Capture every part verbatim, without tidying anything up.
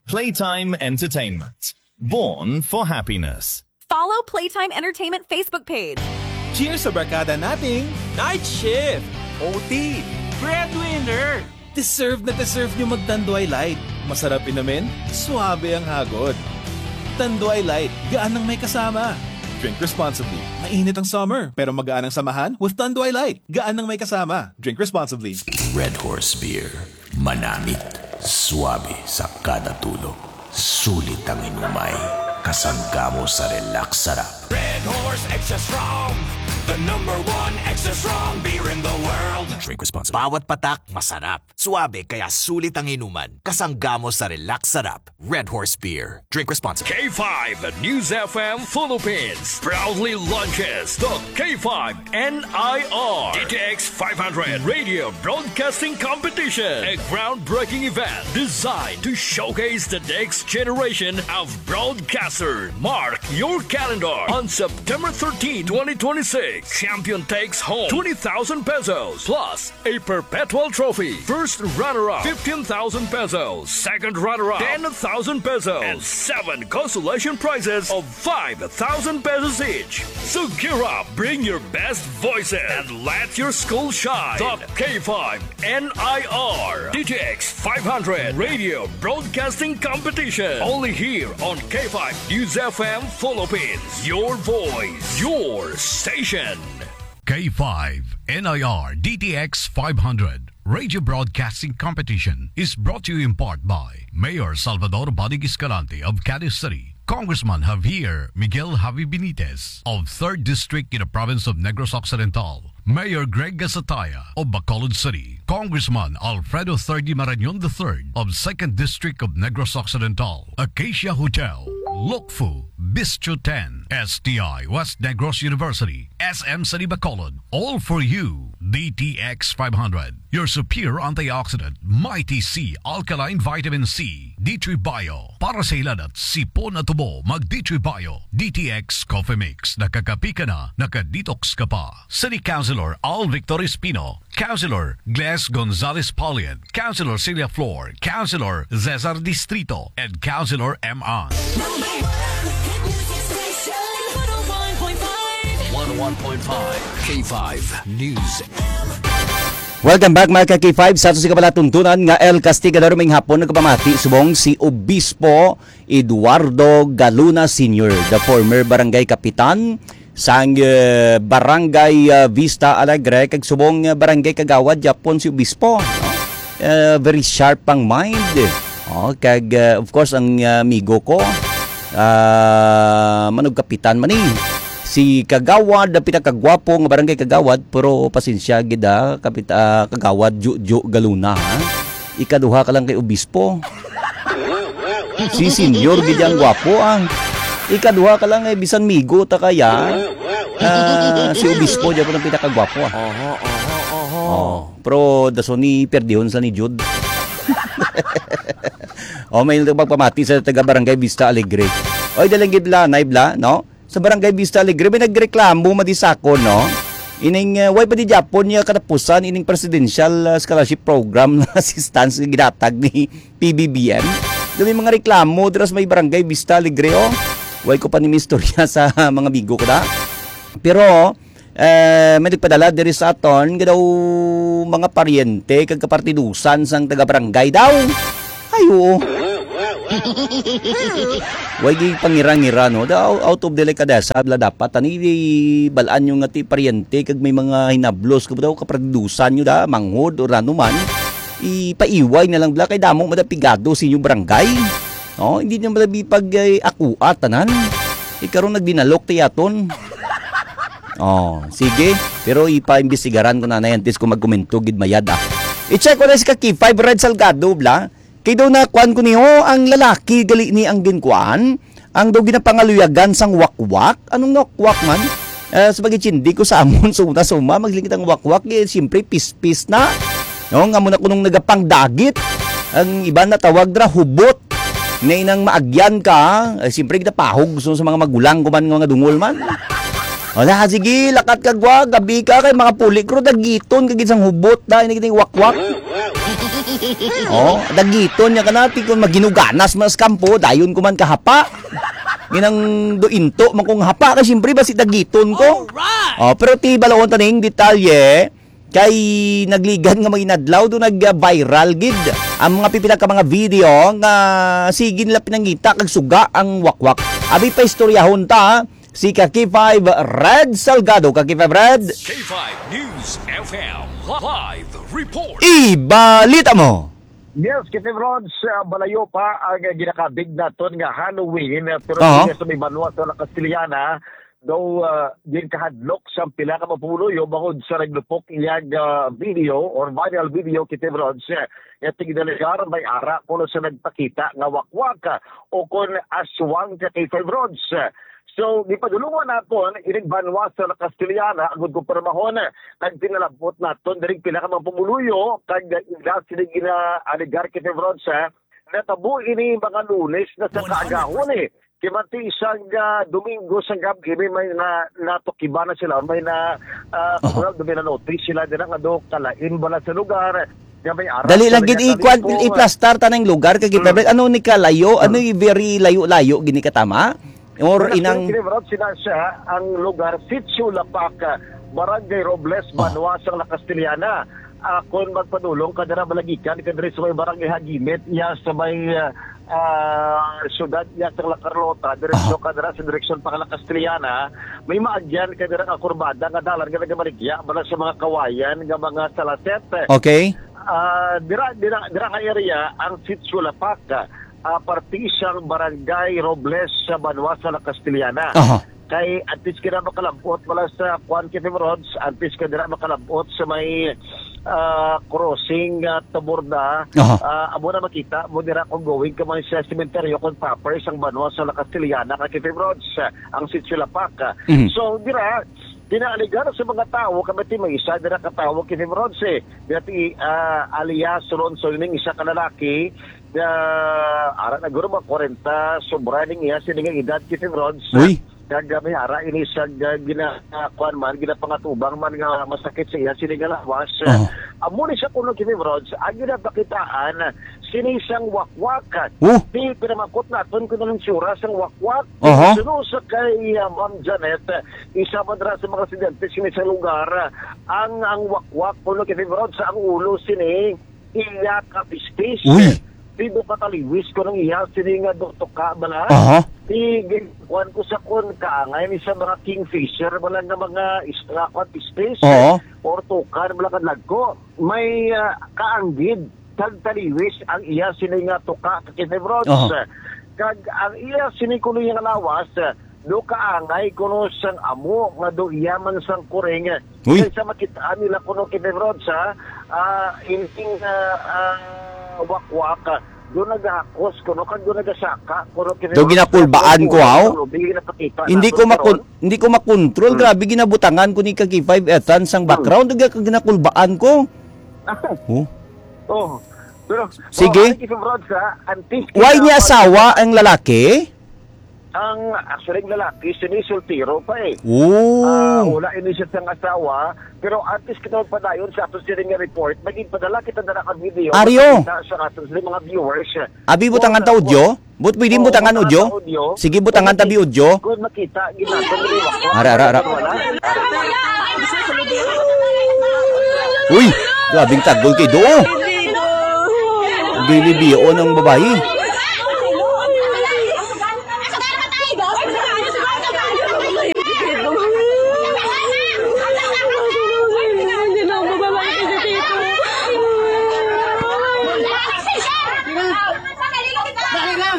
Playtime Entertainment. Born for happiness. Follow Playtime Entertainment Facebook page. Cheers sa barkada nating night shift, O T, breadwinner. Deserve na deserve nyo mag-Tanduay Light. Masarap inumin, suabe ang hagod. Tanduay Light, gaan ang may kasama. Drink responsibly. Mainit ang summer, pero magaan ang samahan with Tanduay Light. Gaan ang may kasama. Drink responsibly. Red Horse Beer. Manamit, suabe sa kada tulo. Sulit ang inumay, kasangga mo sa relax sarap. Red Horse Extra Strong, the number one extra strong beer in the world. Drink responsibly. Bawat patak, masarap. Suabe, kaya sulit ang inuman. Kasangga mo sa relax sarap. Red Horse Beer. Drink responsibly. K five News F M Philippines proudly launches the K five N I R D T X five hundred Radio Broadcasting Competition, a groundbreaking event designed to showcase the next generation of broadcasters. Mark your calendar on September thirteenth, twenty twenty-six. Champion takes home twenty thousand pesos plus a perpetual trophy. First runner-up, fifteen thousand pesos. Second runner-up, ten thousand pesos. And seven consolation prizes of five thousand pesos each. So gear up, bring your best voices, and let your school shine. The K five N I R D T X five hundred Radio Broadcasting Competition. Only here on K five News F M Philippines. Your voice, your station. K five N I R D T X five hundred Radio Broadcasting Competition is brought to you in part by Mayor Salvador Bodig Escalante of Cadiz City, Congressman Javier Miguel Javi Benitez of third District in the province of Negros Occidental, Mayor Greg Gasataya of Bacolod City, Congressman Alfredo Third Marañon the third of second District of Negros Occidental, Acacia Hotel, Lukfu, Bistro ten, S T I West Negros University, S M City Bacolod, All for You, D T X five hundred, your superior antioxidant, Mighty C Alkaline Vitamin C, D three Bio, para sa hilanat, sipon at ubo, mag D three Bio, D T X Coffee Mix, nakakapi ka na, naka-detox ka pa. City Councilor Al Victor Espino, Councilor Gles Gonzalez Paulian, Councilor Celia Flor, Councilor Cesar Distrito, and Councilor M. An. Number one hit music station, one oh one point five. One oh one point five K five News. Welcome back, mga ka-K five. Sa ato si kabalatuntunan nga El Castigador, may hapon nagpamati subong si Obispo Eduardo Galuna Senior, the former barangay kapitan sang, eh, Barangay, ah, Vista Alegre, kag subong, ah, barangay kagawad gyapon si Obispo, no? Eh, very sharp ang mind. Oh, kag, ah, of course, ang, ah, amigo ko, ah, manog kapitan man ni. Si kagawad, ang pinakagwapo nga barangay kagawad, pero pasensya gid, ah, kapit-, ah, kagawad Ju-, Ju Galuna, ha? Ikaduha ka lang kay Obispo. Si Senyor gid ang gwapo, ah. Ikaduha ka lang, eh, bisan migo ta kaya. Ah, si Obispo gyapon ang pinakagwapo, ah. Oho, oho, oho. Oh, pero dason ni perdihon sa ni Jude. Oh, may nagpagpamati sa taga Barangay Vista Alegre. Oy, dalang gid bla, nay bla, no? Sa Barangay Vista Alegre, may nagreklamo madi sa akon, no? Ining, eh, way pa di gyapon niya katapusan ining presidential, ah, scholarship program na assistance nga ginatag ni P B B M. Daw may mga reklamo dira sa may Barangay Vista Alegre, oh. Way ko pa ni istorya sa mga amigo ko da. Pero, eh, may nagpadala diri sa aton nga daw mga paryente kag kapartidusan sang taga-barangay daw. Ay, oo. Way gid pangira-ngira, no? Da-, out of delicadeza, bla, dapat ani, di, bal-an nyo nga ti paryente kag may mga hinablos ka daw, kapartidusan nyo da, manghod, o ano man. Ipaiway na lang, bla, kay damo man da pigado sa inyong barangay. No? Hindi nyo man da pag, eh, akua tanan. Eh, karon nagdinalok ti aton. Oh, sige. Pero ipaimbestigaran ko na na yan, tis kung magkomento gid mayad, ah. I-check ko na si ka K five Red Salgado, bla. Kay daw na kuan ko niyo, ang lalaki gali ni ang ginkuan, ang daw ginapangaluyagan sang wakwak. Anong wakwak man? Eh, sa pag-intindi ko sa amon, sa una, sa uma, maglingkod ang wakwak, eh, siyempre, pispis na. No, nga mo na kunong nagapangdagit. Ang iba na tawag dira, hubot. Nga inang maagyan ka, eh, siyempre, kita pahog so, sa mga magulang ko man, nga mga dungol man. Wala, sige, lakat ka gwa, gabi ka, kay mga puli, kro, dagiton, kagid sang hubot, da, ini kita yung wakwak. Oh, dagiton niya kanati kung maginuganas man sa kampo, dayon ko man kahapa. Ginang do into man kong hapa, kay siyempre, basi dagiton ko. Alright! Oh, pero ti balaon taning detalye, kay nagligan nga mga inadlaw do nag-viral gid ang mga pipila ka mga video nga sige nila pinangita kag suga ang wakwak. Abi pa istoryahon ta, si ka K five Red Salgado. Ka K five Red. K five News F M live report. Ibalita mo. Yes, K five Rods, ah, balayo pa ang ginakabig naton nga Halloween, ah, pero Aha. Sa may banwa sa La Castellana, daw, ah, din kahadlok sa pila ka mga pumuluyo bangod sa naglupok iyang, ah, video or viral video, K five Rods, eh, nga tigdaligar may ara kuno sa nagpakita nga wakwak, ah, o kon aswang ka K five Rods. So, gipadulungan naton ining banwa sa La Castellana, agud ko pirmahon, nagpinalabot naton diri pila ka mga pumuluyo, kag ila sini gina-alegar, K five Rods, eh, natabo ini mga Lunes na sa kaagahon, eh. Kay manti isang, ah, Domingo sa gab-i, may, may na, natukiban na sila, may na, ah, Aha. Well, may na-notice sila dira nga do kalain bala sa lugar, nga may ara Dali sa lang gid mga ikuan, kalimpo. Iplastar ta ng lugar kay Mm. Ano ni kalayo, ano Mm. i very layo-layo gini katama? Or Wala inang kini, Rob, sila siya ang lugar, Sitio Lapak, Barangay Robles, Oh. Banwa sang La Castellana. Ah, kung magpadulong ka dira, malagikan ka diri sa may Barangay Hagimit, iya sa may, ah, ah, syudad, iya sa La Carlota, diretso Aha. Ka dira sa direksyon pa La Castellana, may maagyan ka dira nga kurbada nga dalan nga nagamaligya bala sa mga kawayan nga mga salaset. Okay. Ah, dira, dira, dira nga area ang Sitio Lapak, ah, parte sang Barangay Robles sa banwa sa La Castellana. Aha. Kay antes ka na makalabot wala sa kuan, K five Rods, antes ka dira makalabot sa may, ah, crossing, ah, Taborda, Aha. Ah, amo na makita mo dira kung going ka man sa sementeryo kung proper sang banwa sa La Castellana ka K five Rods, ah, ang Sitio Lapak. Mhm. So, dira, ginaaligar sa mga tawo, kami ti may isa dira ka tawo, K five Rods, eh. Dati, ah, alias Ronson, ning isa ka lalaki, ah, ara na guro, mga kwarenta, sobra ning iya sini nga edad, K five Rods. Uy. Kag, ah, may ara ini sa, ah, gina-, ah, kuwan man, ginapangatubang man nga masakit sa iya sini nga lawas. Aha. Amo ni siya kuno, K five Rods, ang ginapakitaan, sini sang wakwak. Oh. Di pinamakot naton kung anong tsura sang wakwak. Aha. Suno sa kay, ah, Ma'am Janet, isa man dira sa mga residente sini sa lugar, ang, ang wakwak kuno, K five Rods, ang ulo sini, iya ka pispis. Uy. Pido ka taliwis ko nang iya sini nga do tuka bala. Aha. Di gin-, kuwan ko sa kun kaangay ni sa mga kingfisher bala nga mga is-, nga kuwan, pispis. Oo. Or tukan bala nga dagko. May, ah, kaanggid kag taliwis ang iya sini nga tuka ka K five Rods. Aha. Kag ang iya sini kuno nga lawas, do kaangay kuno sang amo nga do iya man sang kuring. Uy. Kaysa makita nila kuno, K five Rods, ha, ah, ining, ah, ah, wakwak, do nagahakos kuno kag do nagasaka kuno, K five Rods. Do ginakulbaan ko, haw? Hindi ko makon-, hindi ko makontrol. Hmm. Grabe, ginabutangan ko ni ka K five Ethan sang Hmm. background. Do ginakulbaan ko. Oh. Oh. Pero, Sige. Oh, ano, K five Rods, ha? Antes Why kita niya mag- asawa ang lalaki? Ang, actually, ang lalaki, sini soltero pa eh. Oh. Ah, wala ini siya sang asawa. Pero antes kita magpadayon sa ato sini nga report, magpadala kita na ang video. Aryo. Sa, sa ato sini mga viewers. Abi, butangan ta audio? But pwede Oo, butangan butangan audio? ta audio. Sige, butangan ta bi audio. Kung makita, ginatong liwat. Ara, ara, ara. Wala. Uy, grabing tagol kay do. Binibiyaon ang babayi. Dali lang.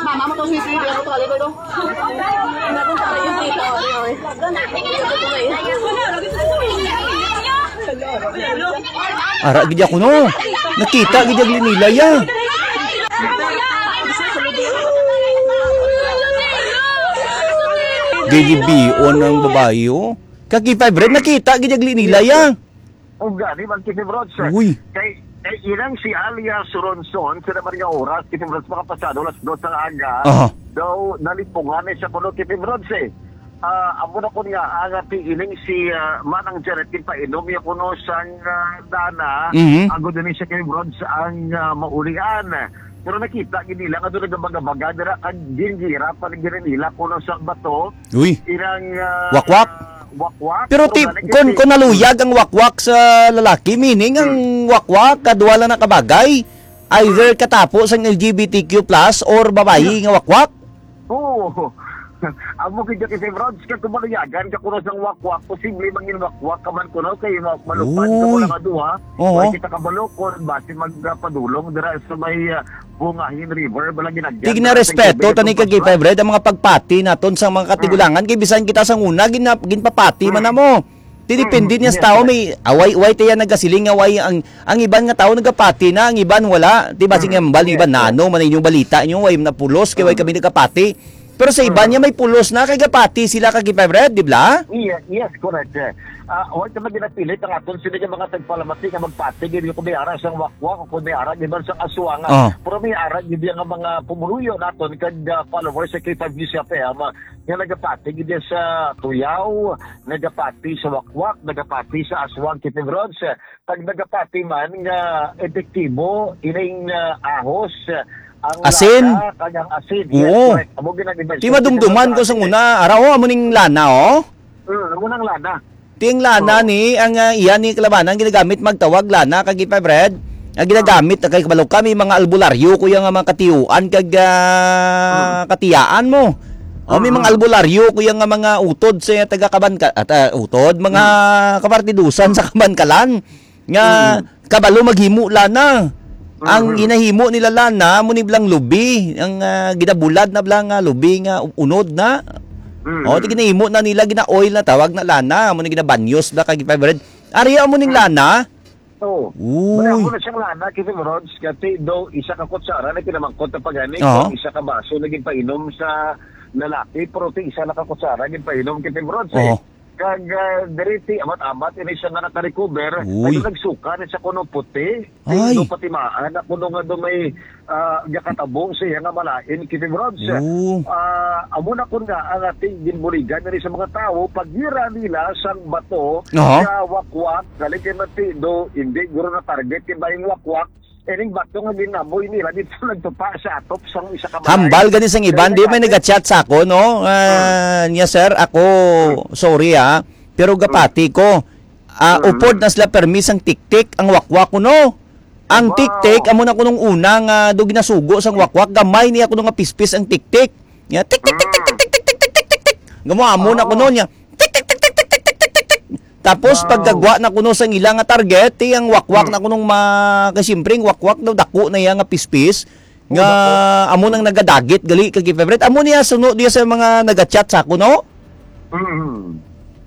Mama mo to, si Sweetie, ano to, ano to? Ara gid ako, no. Nakita gid ang linilay, ah. Gilibion ang babae, oh. Kaki five red, nakita gid ang linilay, ah. Ug gani man, Kevin Rods, Uy. Kay, kay inang si alias Ronson, sa naman nga oras, Kevin Rods, makapasado alas dos ang aga, Aha. daw nalipungan na siya kuno, Kevin Rods, eh. Ah, amo na kun nga, ang, ah, piiling si, ah, Manang Janet, ginpainom niya kuno sang, ah, dana, Mhm. ang gud ni siya kay Brods ang, ah, maulian. Pero nakita gid nila nga doon nagabaga-baga dira, kag gingira pa ni gini nila kuno sa bato. Uy. Inang, ah, Wakwak? Wakwak. Pero ti-, gani kun, kay kun naluyag ang wakwak sa lalaki, meaning ang Hmm. wakwak, kadwa lang na kabagay, either katapo sang L G B T Q plus or babayi Hmm. nga wakwak? Oo. Amo gid kasi, Brods, kag kung maluyagan ka kuno sang wakwak, posible mangin wakwak ka man kuno kay ma-, malupad ka Uy. kuno nga duha. Oo. Wala kita kabalo kung basi magpadulong dira sa may, ah, Bungahin River, bala ginagyan Tig na dira sa respeto, tubig tani atong kag paspas. Fred, ang mga pagpati naton sa mga Mm. katigulangan, kay bisan kita sa una, gina-, ginpapati man Mm. namo. Ti depende Mm, niya sa yes, tao, correct. may away, way tiya nagasiling nga way ang, ang iban nga tao nagapati na, ang iban wala. Di ba, Mm, sige, ang bal-, yes, iban na yes. ano, man inyong balita nyo, way na pulos, kay way Mm. kami nagapati. Pero sa iban Mm. niya may pulos na, kay gapati sila kag Fred, di ba? Iya, yes, correct. Eh, ah, wala naman ginapilit ang aton sila nga mga tagpalamati nga magpati, gid ko may ara sang wakwak o kung may ara, di ba, sang aswang. Ah. Pero may ara, gid nga mga pumuluyo naton kag, ah, followers sa K five News F M, ah, nga nagapati gid sa tuyaw, nagapati sa wakwak, nagapati sa aswang, Kitty Brods. Pag nagapati man nga epektibo ining, ah, ahos, ah, ang Asin? lana kag ang asin. Yes, Oo. correct. Amo ginag-, Di madumduman ko sa una. Ara, oh, amo ning lana, oh. Mm, amo nang lana. Ti ang lana Oo. ni, ang, ah, iya ni kalabanan, ginagamit magtawag lana, kag ipa, Fred. Ang ginagamit, kay kabalo kami, mga albularyo, kuya, nga mga katiyuan, kag, ah, Mm. katiyaan mo. O, may mga Mm. albularyo, kuya, nga mga utod sa taga Kabanka-, at, ah, utod, mga Mm. kapartidusan sa Kabankalan. Nga Mm. kabalo maghimo lana. Ang Mm. ginahimo nila lana, amo ni blang lubi, ang, ah, ginabulad na blang, ah, lubi nga unod na. Mm. O, ti ginahimo na nila, gina-oil na, tawag na lana, amo ni ginabanyos na kag ipa, Fred. Ari amo ning Mm. lana. Oo. Uy. Wala ko na siyang lana, kasi Rods, kasi daw isa ka kutsara na pinamangkot na pagani, Oo. kung isa ka baso na ginpainom sa lalaki, pero ti isa na ka kutsara ginpainom, kasi Rods, eh. Oo. Kag, ah, diri ti amat-amat ini siya nga naka-recover. Uy. Kag nagsuka ni sa kuno puti. Ay. Ti do patimaan na kuno nga do may, ah, gakatabo sa iya nga malain, Kitty Brods. Oo. Ah, amo na kun nga ang ating ginbuligan diri sa mga tawo, pagira nila sang bato Aha. sa wakwak, galing kay Matido, hindi guro na target kay bayang wakwak, ining bato nga ginaboy nila dito nagtupa sa atop sang isa ka balay. Hambal gani sang iban, di may nagachat sa ako, no? Ah, Hmm. niya, "Sir, ako, Hmm. sorry, ah, pero Hmm. gapati ko. Ah, Hmm. upod na sila permi sang tiktik ang wakwak ko, no? Ang Wow. tiktik, amo na kunong una nga do ginasugo sang wakwak, gamay niya kuno nga pispis ang tiktik. Niya, tik, tik, tik, tik, Hmm. tik, tik, tik, tik, tik, tik. Gamo amo na Wow. kuno niya. Tik, tik, tik, tik, tik, tik, tik, tik, tik, tik. Tapos, Wow. pagkagwa na kuno sang ila nga target, ti ang wakwak Hmm. na kunong ma-, kay siyempre, ang wakwak daw dako na iya nga pispis. Oh, Nga dako. amo nang nagadagit, gali, kag favorite. Amo niya, suno niya sa mga nagachat sa ako, no? Mm.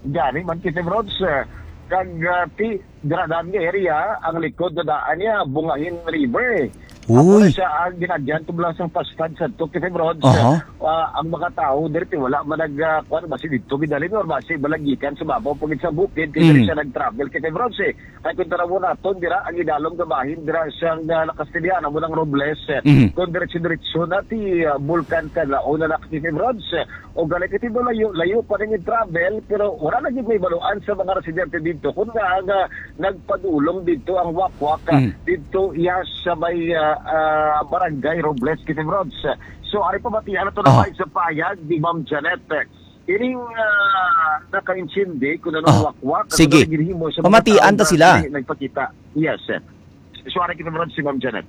Gani man kita, Brods, eh, kag, ah, ti, dira daan nga area, ang likod na daan niya, Bungahin River, eh. Ako na Uy. siya, ang ginagyan ko lang sa pastad sa to, kita, Brods, Aha. ah, ang mga tao, diri, ti, wala man nag, ah, kuwan, basi dito, gidalin, or basi, balagikan sa babaw, pagid sa bukid, kaya diri Mm. siya nag-travel, kita, Brods, eh. Kay kung tanaw naton dira, ang idalom nga bahin dira siyang, ah, La Castellana, amo nang Robles, eh, Mhm. kung diretso-diretso na ti, ah, Bulkan Kanlaon na nakatipid roads, eh, o gali kay ti layo, layo pa rin yung travel, pero wala na gyud may baluan sa mga residente dito. Kung nga, nga nagpadulong dito ang wakwak, ah, Mhm. dito iya sa may, ah, ah, barangay Robles, Kitty Roads. So, ari pa batian nato na Aha. sa payag ni Ma'am Janet. Ining, ah, nakaintindi kung anong Ah, wakwak, kung sige. anong ginhimo sa mga Pamatian tao ta na sila. dili nagpakita. Yes, sir. Suwara kita naman si Ma'am Janet.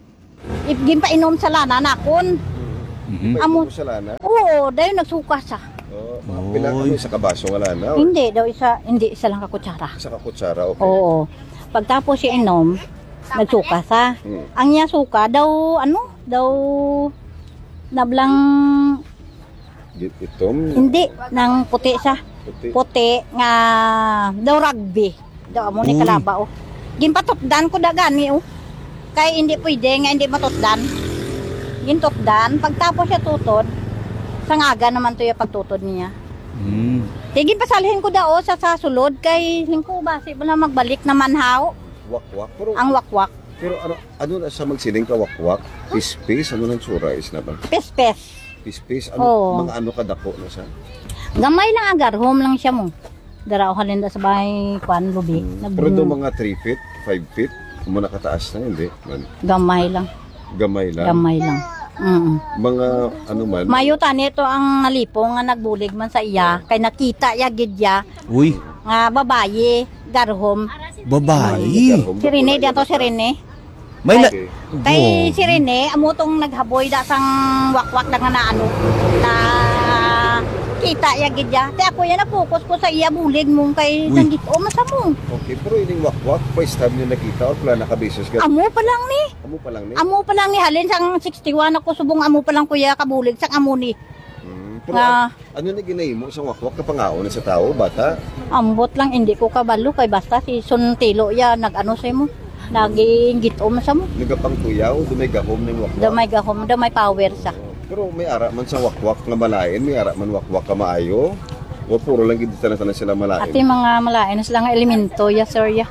If ginpainom sa lana nakon. Mhm. Amo. Ginpainom sa lana? Oo, dayon nagsuka siya. Oh, mga Oy. pila kami sa kabaso nga lana, or? Hindi daw isa, hindi isa lang ka kutsara. Isa ka kutsara, okay. Oo. Pagtapos siya inom, nagsuka siya. Hmm. Ang niya suka daw, ano, daw nablang Gi-, itom? Hindi, nang puti siya. Puti. Puti nga daw rugby. Daw amo ni Uy. kalaba, oh. Ginpatutdan ko da gani, oh. Kay hindi pwede nga hindi matutdan. Gintutdan. Pagtapos siya tutod, sangaga naman to yung pagtutod niya. Hmm. Kay ginpasalhin ko da, oh, sa, sa sulod. Kay hingko ba, si, wala magbalik naman, hao. Wakwak, pero Ang wakwak. Pero ano, ano na sa magsiling ka wakwak? Pispis, ano nang sura is na ba? Pispis. Pispis, ano, Oo. mga ano kadako na sa? Gamay lang, agarhom lang siya mo. Dara o halin da sa bahay, kwan, lubi. Hmm. Pero do Nagbu- mga three feet, five feet, mo nakataas na, hindi man. Gamay lang. Gamay lang. Gamay lang. Mm. Mga ano man. Mayo tani to ang nalipong nga nagbulig man sa iya, kay nakita ya gid ya Uy, nga babayi, garhom. Babayi. Si Rene, diyan to si Rene. May na- Okay. Kay Wow. Si Rene, amo tong naghaboy da sang wakwak na nga na ano, na kita ya gid ya. Te ako ya, na-focus ko sa iya bulig mong kay Uy. Nanggit-om sa mo. Okay, pero ining wakwak, first time niyo nakita or pala nakabeses ka? Amo pa lang ni. Amo pa lang ni? Amo pa lang ni, halin sang sixty-one ako subong, amo pa lang kuya kabulig sang amo ni. Hmm, pero Nga an-, ano ni ginahimo sang wakwak, kapangaon ni sa tawo, bata? Ambot lang, hindi ko kabalo kay basta si Suntilo ya nag-ano sa imo, naginggit-om sa mo. Nagapangtuyaw, do may gahom ning wakwak? Do may gahom, do may power sa. Pero may ara man sa wakwak nga malain, may ara man wakwak ka maayo. O puro lang gid tanan-tanan sila malain. Ati mga malain sila nga elemento, ya, sir, ya.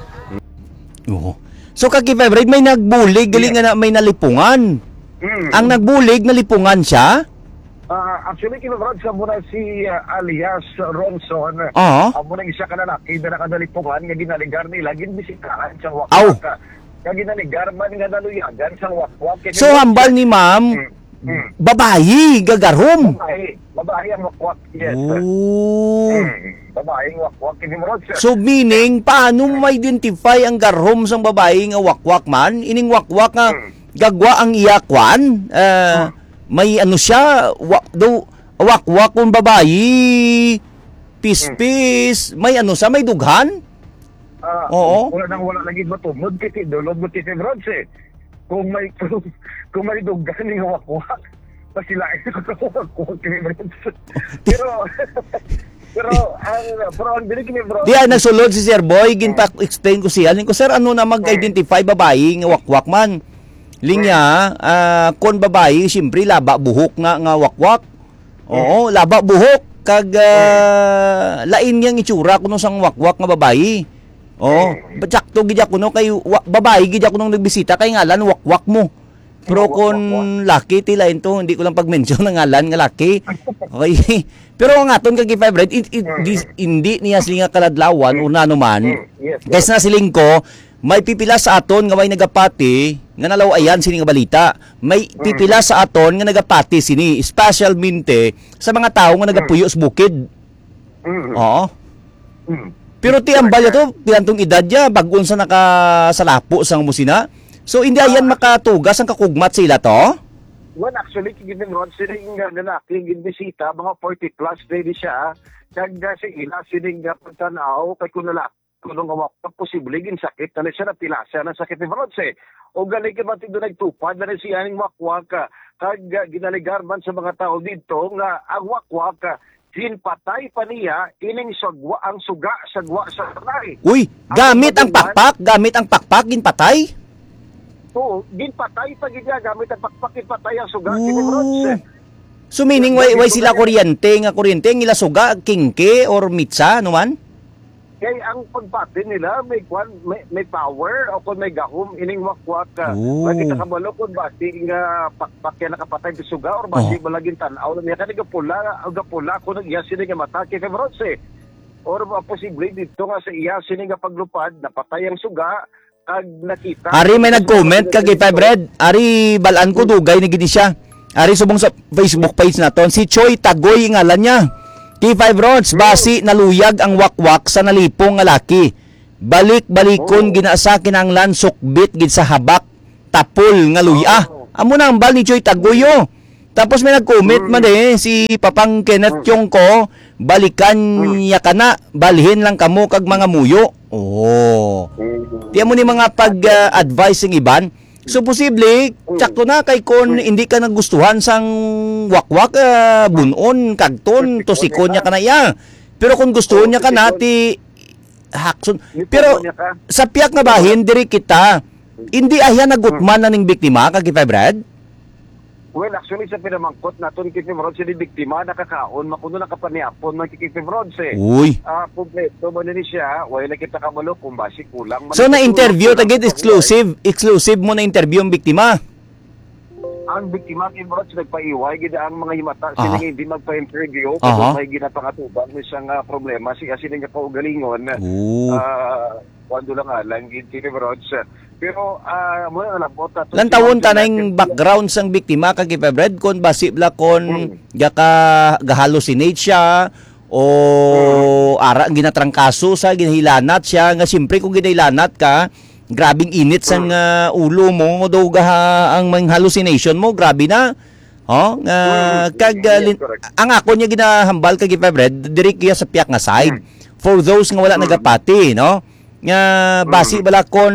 Oo. So, Kaki Five Red, may nagbulig, gali Yeah. nga na may nalipungan. Mm. Ang nagbulig, nalipungan siya? Ah, actually, Kino Brad, sa muna si, ah, alias Ronson. Oo. Amo na isa ka lalaki na nakadalipungan nga ginaligar nila, ginbisitahan sa Aw. Wakwak. Nga ginaligar man nga naluyagan sa Wakwak. Kaya So, yun hambal siya. ni ma'am, Mm. Mm. babayi, gagarhom. Babae. Babae ang wakwak. Yes, sir. Oh. Mm. Babae ang wakwak, Kino Brad, sir. So, meaning, paano mo ma-identify ang garhom sang babae nga wakwak man? Ining wakwak nga Mm. gagwa ang iya kwan? Ah, Mm. may ano siya, wa-, do, wakwak kung babayi, pispis, may ano sa, may dughan? Ah, Oo. Wala nang wala lagi matumod kasi dulog mo kasi Bronze eh. Kung may, kung, kung may dughan nga wakwak, pasilain ko sa wakwak ni Bronze. Pero, pero, ang, pero ang dinig ni Bronze Di, ah, nagsulod si Sir Boy, ginpa-explain ko siya. Ling ko, "Sir, ano na mag-identify babayi nga wakwak man?" Linya, ah, kon babayi, siyempre, laba buhok nga, nga wakwak. Oo, laba buhok. Kag, ah, lain nga ang itsura kuno sang wakwak nga babayi. Oo, Mm. Sakto gid ako, no, kay wa-, babayi gid ako nung nagbisita, kay ngalan wakwak mo. Pero Wakwak, kon wakwak. Laki, ti lain to, hindi ko lang pag-mention ang ngalan nga laki. Okay. Pero ang aton kag K five Red, i-, i-, Mm. dis-, hindi niya sila nga kaladlawan Mm. o nano man. Mm. Yes, Guys, yes. Na siling ko, may pipila sa aton nga may nagapati nga nalaw-ayan sini nga balita. May Mm. pipila sa aton nga nagapati sini, especialmente sa mga tawo nga Mm. nagapuyo sa bukid. Mm. Oo. Mm. Pero ti ang Correct. Bala to, pila tong edad niya, bag-o sa nakasalapo sa musina. So, hindi ayan Ah. makatugas ang kakugmat sa ila to? Well, actually, kay Giving Rod, sila yung nga lalaki, yung ginbisita, mga forty plus na ini siya. Kag, ah, sa ila, sining nga pagtanaw, kay kung lalaki, kung nga wakwak, posible, ginsakit na ni siya, napilasa na sakit ni Bronze. O gali ka ba, tindo nagtupad na ni siya ning wakwak, ah, kag, ah, ginaligar man sa mga tao dito nga ang wakwak, ah, ginpatay pa niya ining sagwa, ang suga, sagwa sa balay. Uy, Ang gamit ang pagbuhat, pakpak, gamit ang pakpak, ginpatay? Oo, ginpatay pa gid niya, gamit ang pakpak, ginpatay ang suga, kini Bronze. Oh. So, meaning, way, way sila kuryente, nga kuryente, ang ila suga, kingke or mitsa, ano man? Kay ang pagpati nila, may kwan, may, may power, o kung may gahom, ining wakwak, ah, Oh. May kita kabalo kung basi nga pakpak yan nakapatay sa suga, or basi Oho. Malaging tanaw na niya, kani gapula, gapula, kung nag-iya sila nga mata, kay Bronze. Or, ah, posible dito nga sa iya, sini nga paglupad, napatay ang suga, kag nakita. Ari may nag-comment kag K five Red. Ari balaan ko dugay ni gid siya. Ari subong sa Facebook page naton. Si Choi Tagoy ngalan niya. K five Rods, basi naluyag ang wakwak sa nalipong nga laki. Balik-balikon gina sa kinahanglan sukbit gid sa habak. Tapol nga luya. Oh. Amo na ang bal ni Choi Tagoy, oh. Tapos may nag-comment man eh, si Papang Kenneth Tiongco, balikan niya ka na, balhin lang kamo kag mga muyo. Oh. Di mo ni mga pag, ah, advice sing iban. So, posible, tsakto na kay kon hindi ka nagustuhan sang wakwak, ah, bunon, kagton, tusikon niya ka na iya. Pero kung gustuhon niya ka na, ti hakson. Pero sa piyak nga bahin, diri kita, hindi ahya nagutman na ning biktima, kag K five Red? Well, actually, sa pinamangkot naton, K five Rods, sini biktima, nakakaon, makuno nakapaniapon man, K five Rods, eh. Uy. Ah, kompleto man ni siya, wala na kita kabalo kung basi kulang man So, ito, na-interview, kulang tagit man ito. Exclusive, exclusive mo na-interview ang biktima? Ang biktima, Kim Rods, nagpaiway gid ang mga himata sila Aha. nga hindi magpa-interview Aha. kung may ginapangatuban ni siyang, ah, problema, si, ah, sila nga kaugalingon. Oo. Ah, kuwan do lang alang gid, Kim Rods. Pero, ah, mo na labot ato Lantawon si ta na Jonathan yung background sang biktima, kag Febred, kung basi bala kung Hmm. gaka, ga-hallucinate siya, o Hmm. ara ang ginatrangkaso sa, ginahilanat siya, nga siyempre kung ginahilanat ka, grabing init sang, Hmm. ah, ulo mo, daw gaha ang mga hallucination mo, grabe na. Oh, nga, Mm, kag, yes, ah, lin-, correct. ang ako niya ginahambal kag Febred, diri kaya sa piyak nga side. Mm. For those nga wala Mm. nagapati, no? Nga basi Mm. bala kon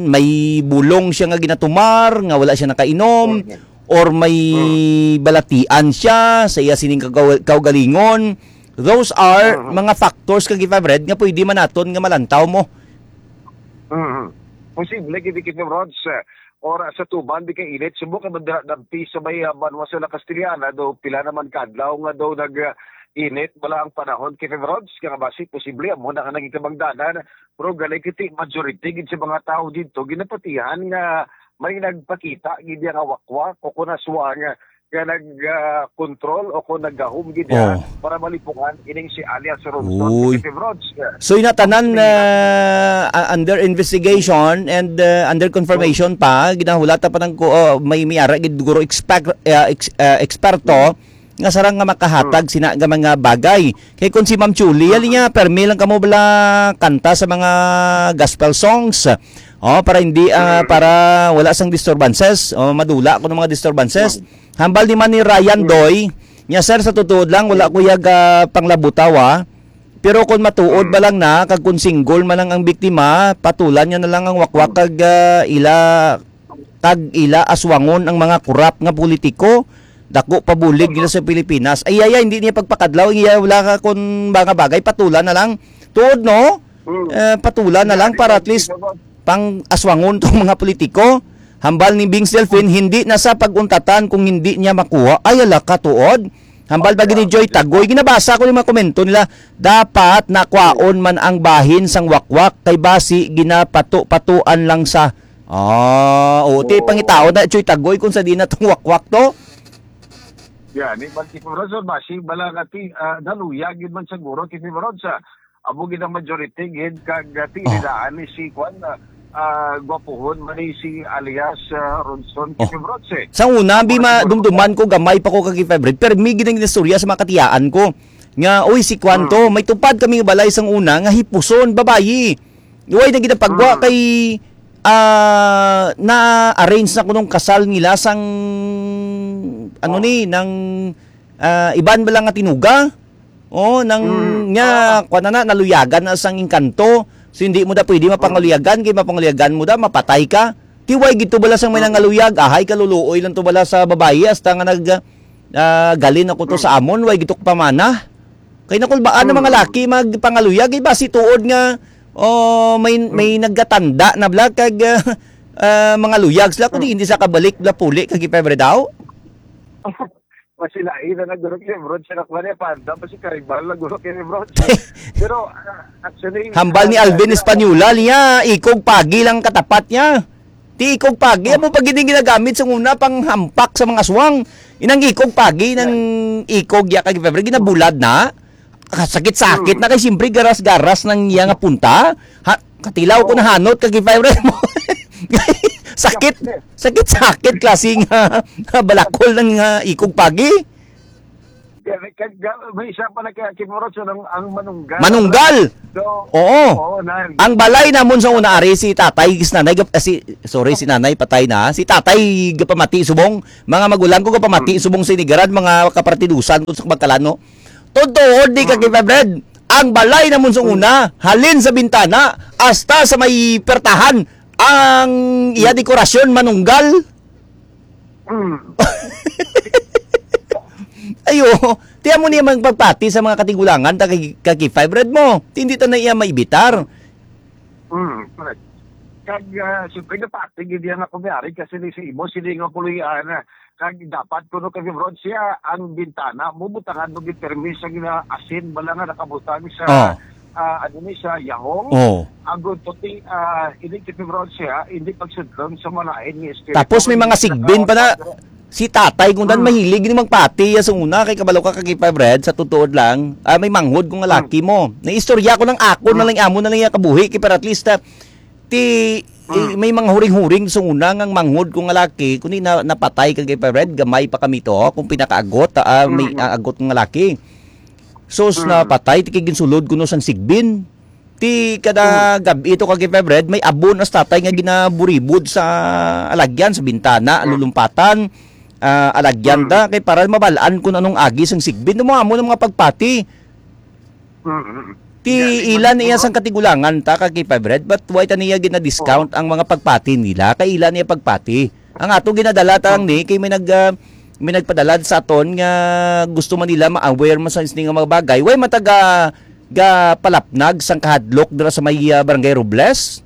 may bulong siya nga ginatumar, nga wala siya nakainom, Mm. or may Mm. balatian siya sa iya sining kagaw-, kaugalingon. Those are Mm. mga factors kag Febred nga pwede man naton nga malantaw mo. Mm. Posible gid, Kim Rods, eh, or sa tuban di kay init, subok ka madampi sa may, ah, banwa sa La Castellana, do pila naman ka adlaw nga daw nag, ah, init bala ang panahon, Kim Rods, nga basi posible amo na nga naging kabangdanan, pero gali kiti majority gid sa mga tawo dito ginapatihan nga may nagpakita gid nga wakwak o kun aswang nga nag, ah, control o kung naggahom gid siya Oh. para malipungan ining si alias Ronson Uy. Fifty Rods. So, ina tanan, Ang ah, ah, under investigation and, ah, under confirmation pa, ginahulata pa ng ko, oh, may, may ara gid guro expect, ah, ex-, ah, eksperto nga sarang nga makahatag Hmm. sina nga mga bagay. Kay kung si Ma'am Chuli, Hmm. ali niya, permi lang kamo bala kanta sa mga gospel songs. Oh, para hindi, ah, Hmm. para wala sang disturbances. Oh, madula ko ng mga disturbances. Hmm. Hambal ni man ni Ryan Hmm. Doy, niya, "Sir, sa tutuod lang, wala Hmm. ko yag, ah, panglabutaw, ah. Pero kung matuod Hmm. ba lang na, kag kung single man lang ang biktima, patulan niya na lang ang wakwak Hmm. kag, ah, ila, kag ila aswangon ang mga korap nga politiko. Dako pa bulig nila sa Pilipinas." Ay, ay, ay, hindi niya pagpakadlaw, iya wala ka kung mga bagay, patulan na lang. Tuod, no? Hmm. Eh, patulan na lang Yan, para at least yan. pang aswangon tong mga politiko. Hambal ni Bings Delfin, hindi na sa pag-untatan kung hindi niya makuha. Ay, ala ka, tuod. Hambal ba gini Joy Tagoy? Ginabasa ko yung mga komento nila. Dapat nakwaon man ang bahin sang wakwak kay basi ginapato-patuan lang sa, ah, o, ti Oh. pangitaon na Joy Tagoy kung sa di na tong wakwak to. Yan, ni Marky Corazon, basi bala nga ti, ah, naluya gid man siguro, Kifi Ron, sa amo gid ang majority gid kag, ah, ti Oh. nidaan ni si Kwan, ah, ah, gwapuhon man ni si alias, ah, Ronson Oh. Kifi Ron, eh. Sa una, bi Amo ma-, gid siguro. dumduman ko, gamay pa ko kag Febred, pero may gid ang istorya sa mga katiyaan ko. Nga, "Uy, si Kwan to, Hmm. may tupad kami nga balay sang una nga hipuson, babayi." Way na gid ang pagwa Hmm. kay, ah, na-arrange na kunong kasal nila sang, ano Oh. ni, nang, ah, iban ba lang nga tinuga? Oh, nang Mm. nya, Ah. kuwan na na, naluyagan na sang engkanto. So, hindi mo da pwede Mm. mapangaluyagan, kay mapangaluyagan mo da, mapatay ka. Ti way gid to bala sang may Mm. nangaluyag, ahay kaluluoy lang to bala sa babayi, hasta nga nag, ah, galin ako to Mm. sa amon, way gid to pamana. Kay nakulbaan ang mga Mm. laki magpangaluyag, iba si tuod nga, oh, may, Mm. may nagkatanda na bala, kag, ah, ah, mangaluyag sila, kundi Mm. hindi sa kabalik bala puli, kag ipebre daw. Masilain na nagdurog ni Bro, siya na kuha niya, panda pa si Karibal, nagdurog ni Bro. Pero, ah, actually, Hambal ni ah, Alvin ah, Española niya, ikog pagi lang katapat niya. Ti ikog pagi, Oh. amo pa gid ang ginagamit sa una pang hampak sa mga aswang. Inang ikog pagi, nang Yan. ikog ya kag February, ginabulad na. Kasakit-sakit Hmm. na kay siyempre garas-garas nang iya nga punta. Ha, katilaw ko Oh. nahanot kag February mo. Sakit, Yan. sakit-sakit klase nga balakol ng, ah, ikog pagi. Kag, kag, may isa pa na kaya, Kimurot, so, ang, ang manunggal. Manunggal? So, Oo. oo, nan. Ang balay namon sa una, ari, si tatay, si nanay, gap-, eh, si, sorry, si nanay, patay na. Si tatay, gapamati, subong, mga magulang ko, gapamati, Mm. subong, sinigaran, mga kapartidusan ko sa Magkalano. Totoo, di ka Mm. kipabred. Ang balay namon sa Mm. una, halin sa bintana, hasta sa may pertahan, ang iya Mm. dekorasyon, manunggal. Mm. Ayo, tiyan mo niya magpagpati sa mga katigulangan, ta kay, kay five red mo. Hindi ta na iya maibitar. Mm, correct. Kag, ah, siyempre, napati gid yan ako may-ari kasi ni sa imo, sini nga puloy-an, ah, kag dapat kuno kay Ron siya, ang bintana mo, butangan mo gid permi sa gina-, asin, bala nga nakabutang sa Oh. ah, ano ni sa Yahong. Oh. Ang gunto ti, ah, hindi ti February siya, hindi pagsudlon sa malain ni Espiritu. Tapos may mga sigbin pa na, si tatay kung dan Mm. mahilig ni magpati ya sa una kay kabalo ka kay Febred sa tutuod lang. Ah, may manghod kung Mm. laki mo. Naistorya ko lang ako na Mm. lang amo na lang iya kabuhi kay para at least ah, ti eh, Mm. may mga huring-huring sa una nga manghod kung laki kundi na, napatay kag kay Febred gamay pa kami to kung pinakaagot ah, may Mm. ah, agot nga laki. Sus, Mm. napatay ti kay ginsulod kuno sang sigbin. Ti kada Mm. gab-i to kag Febred, may abon as tatay nga ginaburibod sa alagyan, sa bintana, Mm. lulumpatan, ah, alagyan Mm. da, kay para mabalaan kung anong agi sang sigbin. Mo amo ng mga pagpati. Mm, mm. Ti Yan, ilan man-, iya man-, sang katigulangan ta kag Febred, but why ta niya gina-discount Oo. ang mga pagpati nila? Kay ilan niya pagpati? Ang ato ginadala ta lang Oo. ni, kay may nag, ah, may nagpadala sa aton nga gusto man nila ma-aware man sa sini nga mga bagay. Why man taga ga palapnag sang kahadlok dira sa may, ah, Barangay Robles?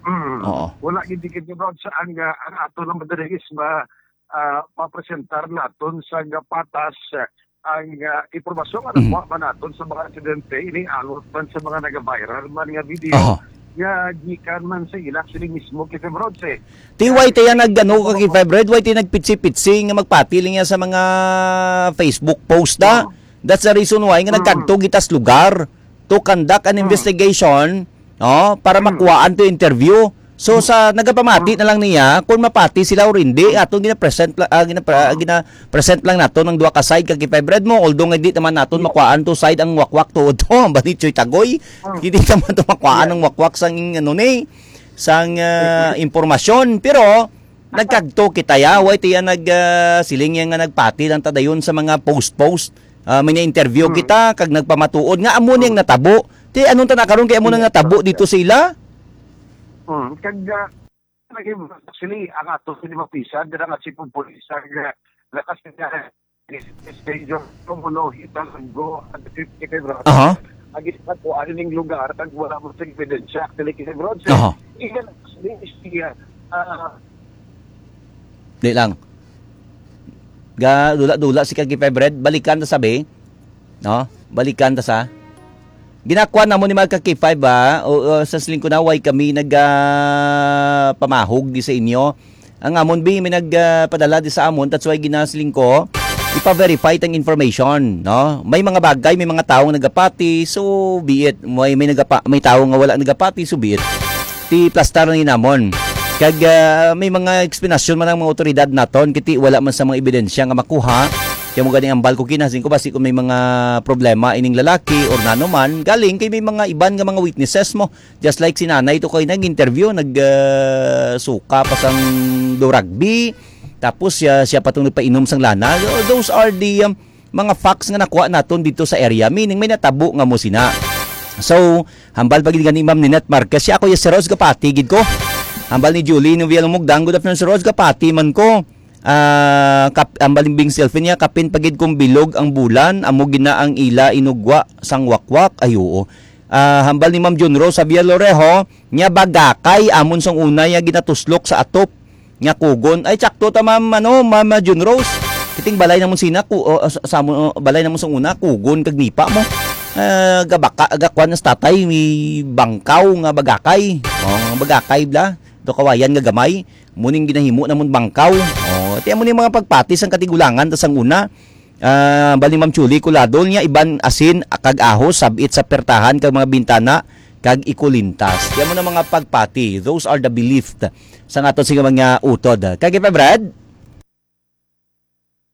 Mm. Oo. Wala gid dikit nga brown sa ang, ah, ang ato lang madali is ma-, ah, mapresentar naton sa nga patas, ah, ang, ah, impormasyon nga Mhm. nakuha man naton sa mga residente, iniangot man sa mga nag-viral man nga video Aha. nga gikan man sa ila sila mismo kay Febrodse. Ti why tayo nag-ano ka kay Febred? Why tayo nagpitsi-pitsi nga magpati lang niya sa mga Facebook post da? Oo. That's the reason why nga Mm. nagkadto kita sa lugar to conduct an Mm. investigation, no, para Mm. makuhaan to interview. So, Mm. sa nagapamati Mm. na lang niya kung mapati sila or hindi, Mm. atong gina-present la-, ah, gina-, ah, Mm. gina-present lang nato ng duha ka side kag kay Febred mo, although nga di naman naton Mm. makuhaan to side ang wakwak tuod to, ang Banichoy Tagoy. Mm. Hindi naman to makuhaan Yeah. ang wakwak sang, ano ni, sang, ah, Mm. impormasyon. Pero, nagkadto kita ya, why tiya nag, ah, siling ya nga nagpati lang ta dayon sa mga post-post. Ah, may na-interview Hmm. kita, kag nagpamatuod nga amo ni ang Hmm. natabo. Ti, anong tana karon kay amo na Yes, natabo sir. dito sa ila? Hmm. Kag, ah, naging, actually, ang ato sini mapisan, dira nga si Pumpulis, ang, ah, lakas niya, is, is danger, kumulo, hitang, go, at fifty kay Bro. Aha. Ang isa ko, ano ning lugar, kag wala mo sa ebidensya, actually, kay Bro, sir. Aha. Iyan, actually, is the, ah, Di lang. Ga, dula-dula si Kag Febred, balikan ta sabi. No? Balikan ta sa. Ginakuan namo ni mga ka K five, ha? O, o, sa siling ko na, why kami nag, ah, pamahog di sa inyo? Ang amon, bi, may nag, ah, padala di sa amon, that's why ginasiling ko, ipa-verify tang information, no? May mga bagay, may mga tawo nga nagapati, so be it. May, may nagapa-, may tawo nga wala nagapati, so be it. Ti plastar na yun namon. Kag, ah, may mga eksplanasyon man ang mga otoridad naton, kiti wala man sa mga ebidensya nga makuha. Kaya mo gani ang balko kinasing ko, basi kung may mga problema ining lalaki or nano man, galing kay may mga iban nga mga witnesses mo. Just like si nanay to kay nag-interview, nag, ah, suka pa sang do rugby. Tapos siya, siya pa tong nagpainom sang lana. Those are the, um, mga facts nga nakuha naton dito sa area. Meaning, may natabo nga mo sina. So, hambal pa gid gani Ma'am Ninette Marquez, siya ako ya si Rose Gapati gid ko. Hambal ni Julie Noviel Mugdang, "Good afternoon, si Rose Gapati man ko." Ah, kap-, hambal ni Bing Selfie niya, "Kapin pa gid kung bilog ang bulan, amo gina ang ila inugwa sang wakwak." Ay, oo. Ah, hambal ni Ma'am Jun Rose Javier Lorejo, niya bagakay amon sang una ya ginatuslok sa atop nga kugon. Ay, tsakto ta, Ma'am, ano, Ma'am, ah, Jun Rose. Kiting balay namon sina, ku-, o, sa, sa mo, o, balay namon sa una, kugon kag nipa mo. Ah, gabaka, gakuan nas tatay, may bangkaw nga bagakay. O, nga bagakay bla. Do kawayan nga gamay. Muning ginahimo namon bangkaw. O, ti amo ni mga pagpatis ang katigulangan ta sang una. Ah, bali, Ma'am Chuli, kulado niya iban asin kag ahos sabit sa pertahan kag mga bintana kag ikulintas. Yan mo na mga pagpati. Those are the belief sa aton sa mga utod. Kag ipa, Brad?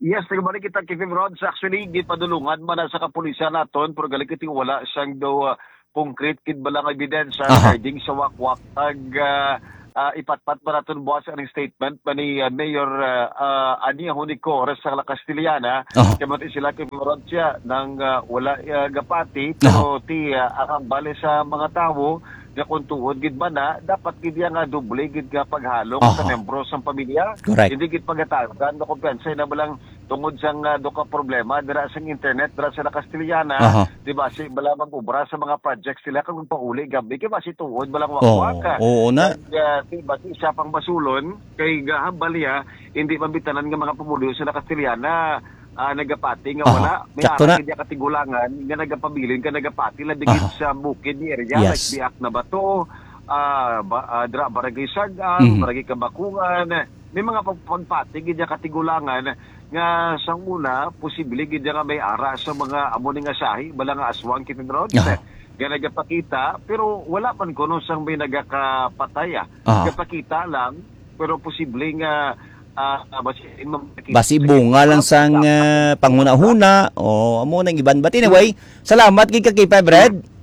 Yes, nagbalik kita, Kevin Rods. Actually, gipadulungan man na sa kapulisan naton, pero galing kita wala siyang daw, ah, concrete kid bala nga ebidensya Aha. regarding sa wakwak. Ag, ah, ah, ipatpat pa naton buwas ang statement pa ni, ah, Mayor, ah, ah, Ania Hunico, sa La Castellana. Aha. Kaya mati sila kay Florencia nang, ah, wala, ah, gapati, Aha. pero ti, ah, ang bali sa mga tawo, nga kung tuod gid ba na, dapat gid iya nga doble gid nga paghalong sa Aha. membro sang pamilya. Correct. Hindi gid pagatagan, no, kumpiyansa na balang tungod sang, ah, do ka problema dira sa internet, dira sa La Castellana, Aha. di ba, si bala mag-ubra sa mga projects nila kag magpauli gabi, kay basi tuod balang Oo, wakwak, ah. oo na. Nag, ah, di ba, si siya pang basulon, kay gahambal niya, hindi mabitanan nga mga pumuluyo sa La Castellana, ah, nagapati nga Aha. wala. May Sakto ara na. Kay katigulangan nga nagapabilin ka nagapati lang digid Aha. sa bukid ni area, Yes. like Biak na Bato, ah, ba, ah, dra, Barangay Sagan, Mhm. Barangay Kabakungan. May mga pag-, pagpati gid niya katigulangan nga sa una, posible gid niya nga may ara sa mga amo ni nga sahi, bala nga aswang, Kevin Rod. Aha. Nga nagapakita, pero wala man kuno sang may nagakapatay, ah. Aha. Nagapakita lang, pero posible nga, ah, basi, Basi bunga lang sang, ah, panghunahuna. O, amo nang iban. But anyway, salamat gid ka, K five Red.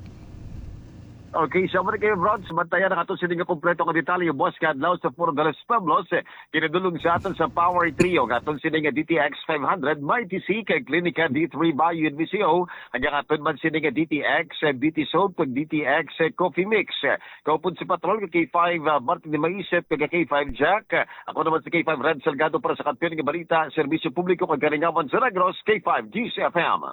Okay, so muna kayo, Rod. Sa bantayan ang ato sini nga kompleto nga detalye, boss, kadlaw sa Puro Galos Pueblos, eh, kinadulong sa aton sa Power Trio, nga aton sini nga D T X five hundred, Mighty C, kay Klinika D three Bio and V C O, hanggang aton man sini nga D T X, eh, D T Soap, kag D T X, eh, Coffee Mix. Kaupod si Patrol, kag K five, ah, Martin de Maisip, kag K five Jack. Ako naman si K five Red Salgado para sa Kampiyon nga Balita, Serbisyo Publiko, kag Kalingawan sa Negros, K five G C F M.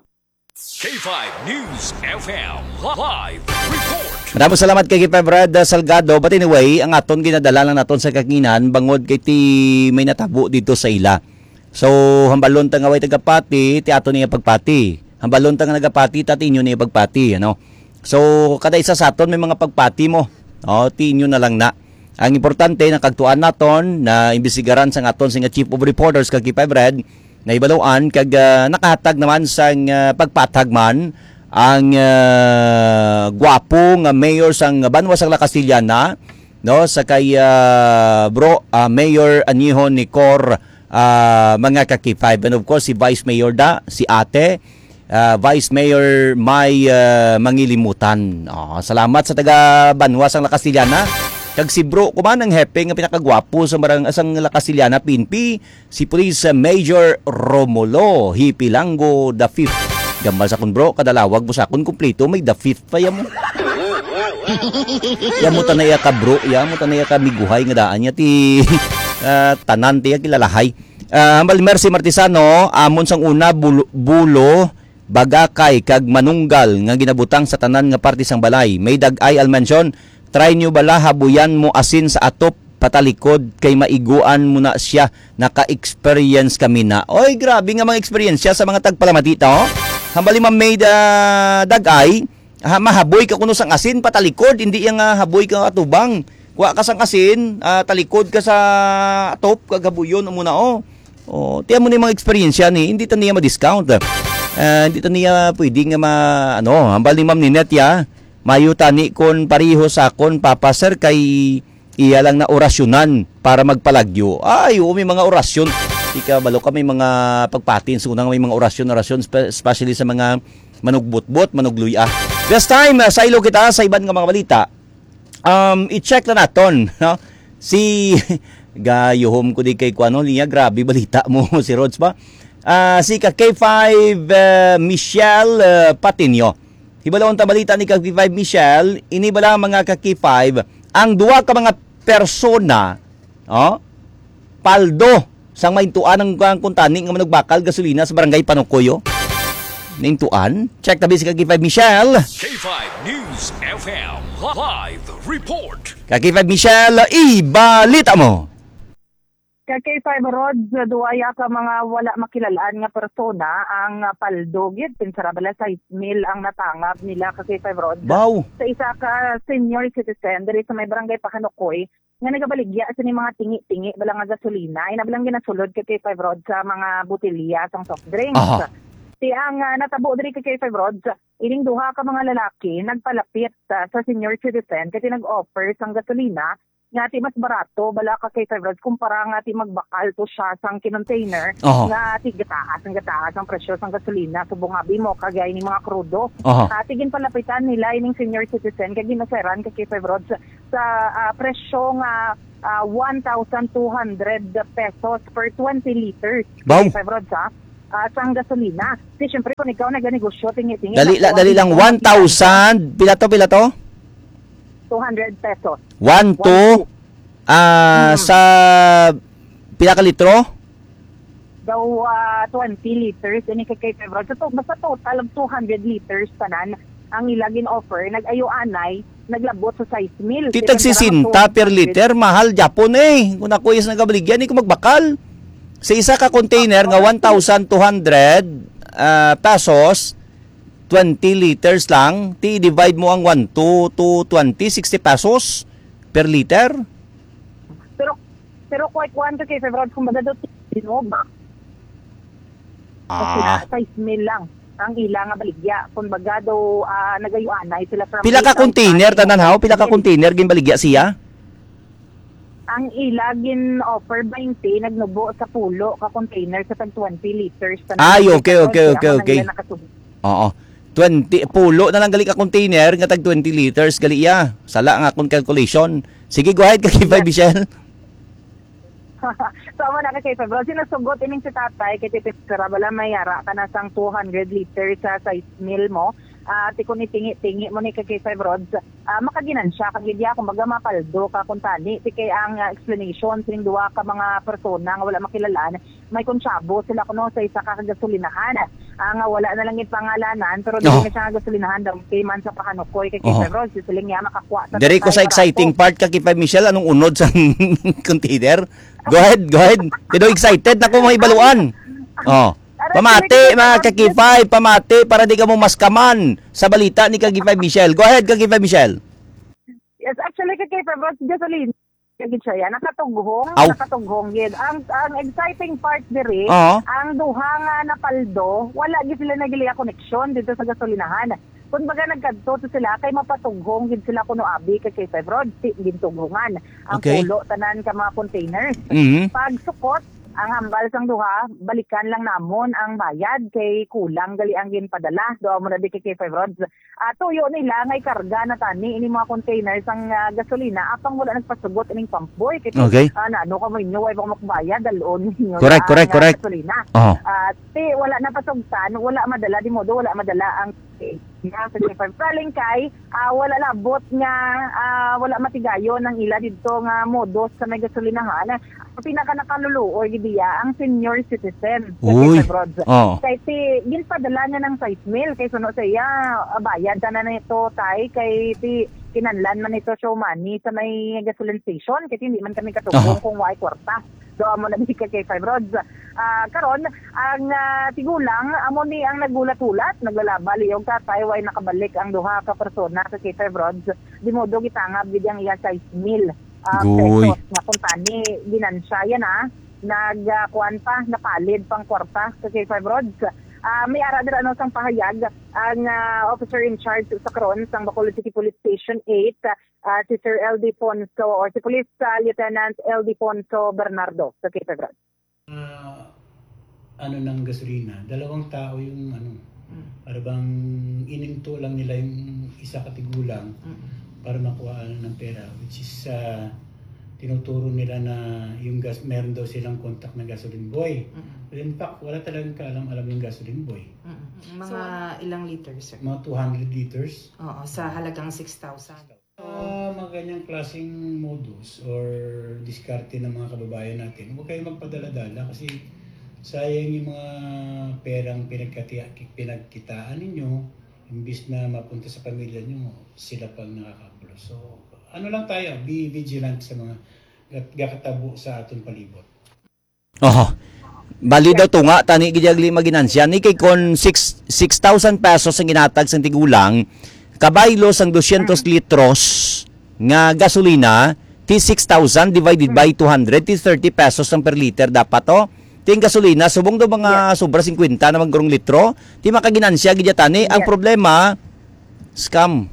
K five News F M live report. Maraming salamat kay K five Red Salgado. But anyway, ang aton ginadala lang naton sa kaginan bangod kay ti may natabo dito sa ila. So, hambalon ta nga way tagapati, ti aton niya pagpati. Hambalon ta nga nagapati, ta ti inyo niya pagpati, ano? So, kada isa sa aton may mga pagpati mo. O, ti inyo na lang na. Ang importante, nakagtuan naton na imbestigaran sang aton sing Chief of Reporters kag K five Red, nahibaluan kag, ah, nakahatag naman sang, ah, pagpatag man ang, ah, gwapo nga mayor sang banwa sang La Castellana, no, sa kay, ah, bro, ah, Mayor Aniho Nicor, ah, mga ka-K five. And of course, si Vice Mayor da, si Ate, ah, Vice Mayor May, ah, Mangilimutan. Oh, salamat sa taga banwa sang La Castellana. Kag si bro ko man ang hepe nga pinakagwapo sa barang-, sang La Castellana P N P, si Police Major Romulo Hipilango the fifth. Gambal sa kun bro, kadalawag mo sa kun kumpleto, may the fifth pa ya mo. Ya mo tanaya ka bro, ya mo tanaya ka miguhay nga daan niya ti, ah, tanan tiya kilalahay. Ah, Hambal Mercy Martisano, amon sang una, bulo, bulo, bagakay, kag manunggal nga ginabutang sa tanan nga parte sang balay. May dag-ay, I'll mention, try nyo bala habuyan mo asin sa atop patalikod kay maiguan mo na siya. Naka-experience kami na. Oy, grabe nga mga eksperyensya sa mga tagpalamati ta, oh. Hambal ni Ma'am May, ah, dag-ay, ha, mahaboy ka kuno sang asin patalikod, hindi yang, ah, haboy ka atubang. Kuha ka sang asin, ah, talikod ka sa atop, kag habuyon mo na, oh. Oh, tiyan mo ni mga eksperyensya ni, hindi ta niya ma-discount. Ah, hindi ta niya pwede nga ma-, ano, hambal ni Ma'am Ninette, ya, mayo tani kon pareho sa akon, Papa, sir, kay iya lang na orasyonan para magpalagyo. Ay, oo, may mga orasyon. Ika, balo ka, may mga pagpatin, so nang may mga orasyon, orasyon, spe-, especially sa mga manugbutbot, manugluya. This time, ah, saylo kita sa iban nga mga balita. Um, i-check na naton, no? Si, gayuhom ko di kay kuano niya, grabe balita mo, si Rods ba? Ah, si ka K five, ah, Michelle, ah, Patinio. Hibalon ta balita ni ka K five Michelle, ini bala mga ka K five, ang duha ka mga persona, oh, paldo sang maintuan ang, ang kuntani nga manugbakal gasolina sa barangay Panukoyo. Naintuan? Check tabi si ka K five Michelle. K five News F M live report. Ka K five Michelle, ibalita mo. Ka K five Rods, duwaya ka mga wala makilalaan nga persona ang, ah, paldo gid. Pinsara bala sais mil ang natangab nila, ka K five Rods. Wow. Sa isa ka senior citizen diri sa may barangay Pahanukoy nga nagabaligya sini mga tingi-tingi bala nga gasolina, ina bala nga ginasulod, ka K five Rods, sa mga botelya sang soft drinks. Aha. Ti ang, ah, natabo diri, ka K five Rods, ining duha ka mga lalaki nagpalapit, ah, sa senior citizen kay nag-offer sang gasolina nga ti mas barato bala, ka K five Rods, kumpara nga ti magbakal to siya sang kinontainer Oho. nga ti gataas ang gataas ang presyo sang gasolina subong abi mo kagay ni mga krudo. Oho. Ah, ti ginpalapitan nila ining senior citizen kay gin-offeran, ka K five Rods, sa, ah, presyo nga, ah, one thousand two hundred pesos per twenty liters. Baw. Ka K five Rods, ha? Ah, sang gasolina. Ti, syempre, kung ikaw naganegosyo, tingi-tingi, Dali lang, nakuha dali mo lang. One thousand. Pila to, pila to? Two hundred pesos. One, One, two. two. Ah, Hmm. sa pila ka litro? Daw, ah, twenty liters, ini kay, kay February. So, to-, basta total of two hundred liters tanan ang ila gin-offer. Nag-ayo anay, naglabot sa sais mil. Ti tag sesenta per liter, mahal gyapon eh. Kung ako is nagabaligya, di ko magbakal. Sa isa ka container nga one thousand two hundred, ah, pesos, twenty liters lang, ti divide mo ang one to, to twenty, sixty pesos per liter? Pero, pero quite one to kay February, kumbaga daw, tinog. Kasi na, Ah, five mil lang ang ila nga baligya. Kumbaga daw, ah, nagayuanay sila from pila ka eight thousand container, tanan, haw? Pila ka container ginbaligya siya? Ang ila gin-offer twenty, nagnubo sa pulo ka container sa tag twenty liters. Tanan. Ay, okay, okay, okay, okay. Ang ila nakasubo. Oo. Twenty, pulo na lang gali ka container nga tag twenty liters gali iya. Sala nga akong calculation. Sige, go ahead, Kakipay Michelle. So, amo na ka, K five Rod. Sinusugot ining si tatay, kay Tito Sara, bala may ara ka na sang two hundred liters sa size meal mo. Ah, ti kung itingi-tingi mo ni ka, K five Rod, ah, makaginansya ka gid ya, kumbaga mapaldo ka kung tani. Ti kay ang, ah, explanation sining duha ka mga persona nga wala makilalaan, may konsyabo sila kuno sa isa ka gasolinahan, ah, nga wala na lang ipangalanan, pero dili Oh. na siya nga gasolinahan, daw kay man sa Pahanukoy, kay Oh. K five Rod, si siling niya, makakuha sa Diri ko sa tatay exciting ko. Part ka, K five Michelle, anong unod sa container? Go ahead, go ahead. Pero excited na ko mga ibaluan. Oh. Pamati, mga ka-K five, pamati para di ka mo maskaman sa balita ni ka-K five Michelle. Go ahead, ka-K five Michelle. Yes, actually, ka-K five, Ross, gasolina. Gid siya yan. Nakatughong, Aw. Nakatughong gid. Ang, ang exciting part diri, Oo. Ang duha nga napaldo, wala gid sila nagiliya koneksyon dito sa gasolinahan. Kumbaga, nagkadto to sila kay mapatughong gid sila kuno abi ka-K five Rod, ti-, gintughungan ang Okay. Pulo tanan ka mga containers. Mhm. Pagsukot, ang hambal sang duha, balikan lang namon ang bayad kay kulang gali ang ginpadala. Doon mo na di kay K five Rods. Ah, tuyo nila nga ikarga na tani ini mga container sang, ah, gasolina apang wala nagpasugot ining pump boy. Kay, Okay. Ah, na, ano ka mo inyo, way pa makbayad, dalon ninyo Correct, na correct, ang, ah, correct. Gasolina. Oh. Ah, ti, wala na pasugtan, wala madala, di modo, wala madala ang, eh, nga sa K five. Kaling kay, ah, wala labot nga, ah, wala matigayon ang ila didto nga modus sa may gasolinahan. Ang pinaka nakaluluoy gid diya ang senior citizen sa Uy. K five Rods. Oh. Kay ti, ginpadala niya ng five mil, kay suno sa iya, ah, bayad na na nito, tay, kay ti, kinanlan man ito show money sa may gasoline station, kay hindi man kami katubong Oh. Kung why kwarta. Do amo na di ka K five Rods. Ah, karon, ang, ah, tigulang, amo ni ang naghulat-hulat, naglalaba, liyog ka, tay, way nakabalik ang duha ka persona sa K five Rods. Di modo gitangab gid ang iya five mil, ah, Goy. Pesos nga kung tani ginansya yan, ah. Nag, ah, kuwan pa, napalid pang kwarta sa K five Rods. Ah, may ara dira, ano, sang pahayag ang, ah, officer in charge sa karon sang Bacolod City Police Station eight, ah, si Sir Ildefonso or si Police, ah, Lieutenant Ildefonso Bernardo sa K five Rods. Ah, ano ng gasolina, dalawang tao yung ano, Mm. Para bang ininto lang nila yung isa ka tigulang Mm. Para makuha ng pera, which is, ah, tinuturo nila na yung gas, meron daw silang contact ng gasoline boy. Mm. But in fact, wala talagang kaalam-alam yung gasoline boy. Mm. Mga So, ilang liters, sir? Mga two hundred liters. Oo, sa halagang six thousand. Ah, mga ganyang klaseng modus or diskarte ng mga kababayan natin, huwag kayong magpadala-dala kasi sayang yung mga perang pinagkati-, pinagkitaan ninyo, imbis na mapunta sa pamilya nyo, sila pang nakakagulo. So, ano lang tayo, be vigilant sa mga gat-, gakatabo sa aton palibot. Oho. Bali daw tunga tani gid ang lima ginansya ni kay kon six, six thousand pesos ang ginatag sang tigulang, kabaylo sang dosyentos litros nga gasolina, ti six thousand divided by two hundred, ti thirty pesos ang per liter dapat to. Ti ang gasolina, subong daw mga Yes. sobra singkwenta na magurong litro, ti makaginansya gid tani. Ang Yes. problema, scam.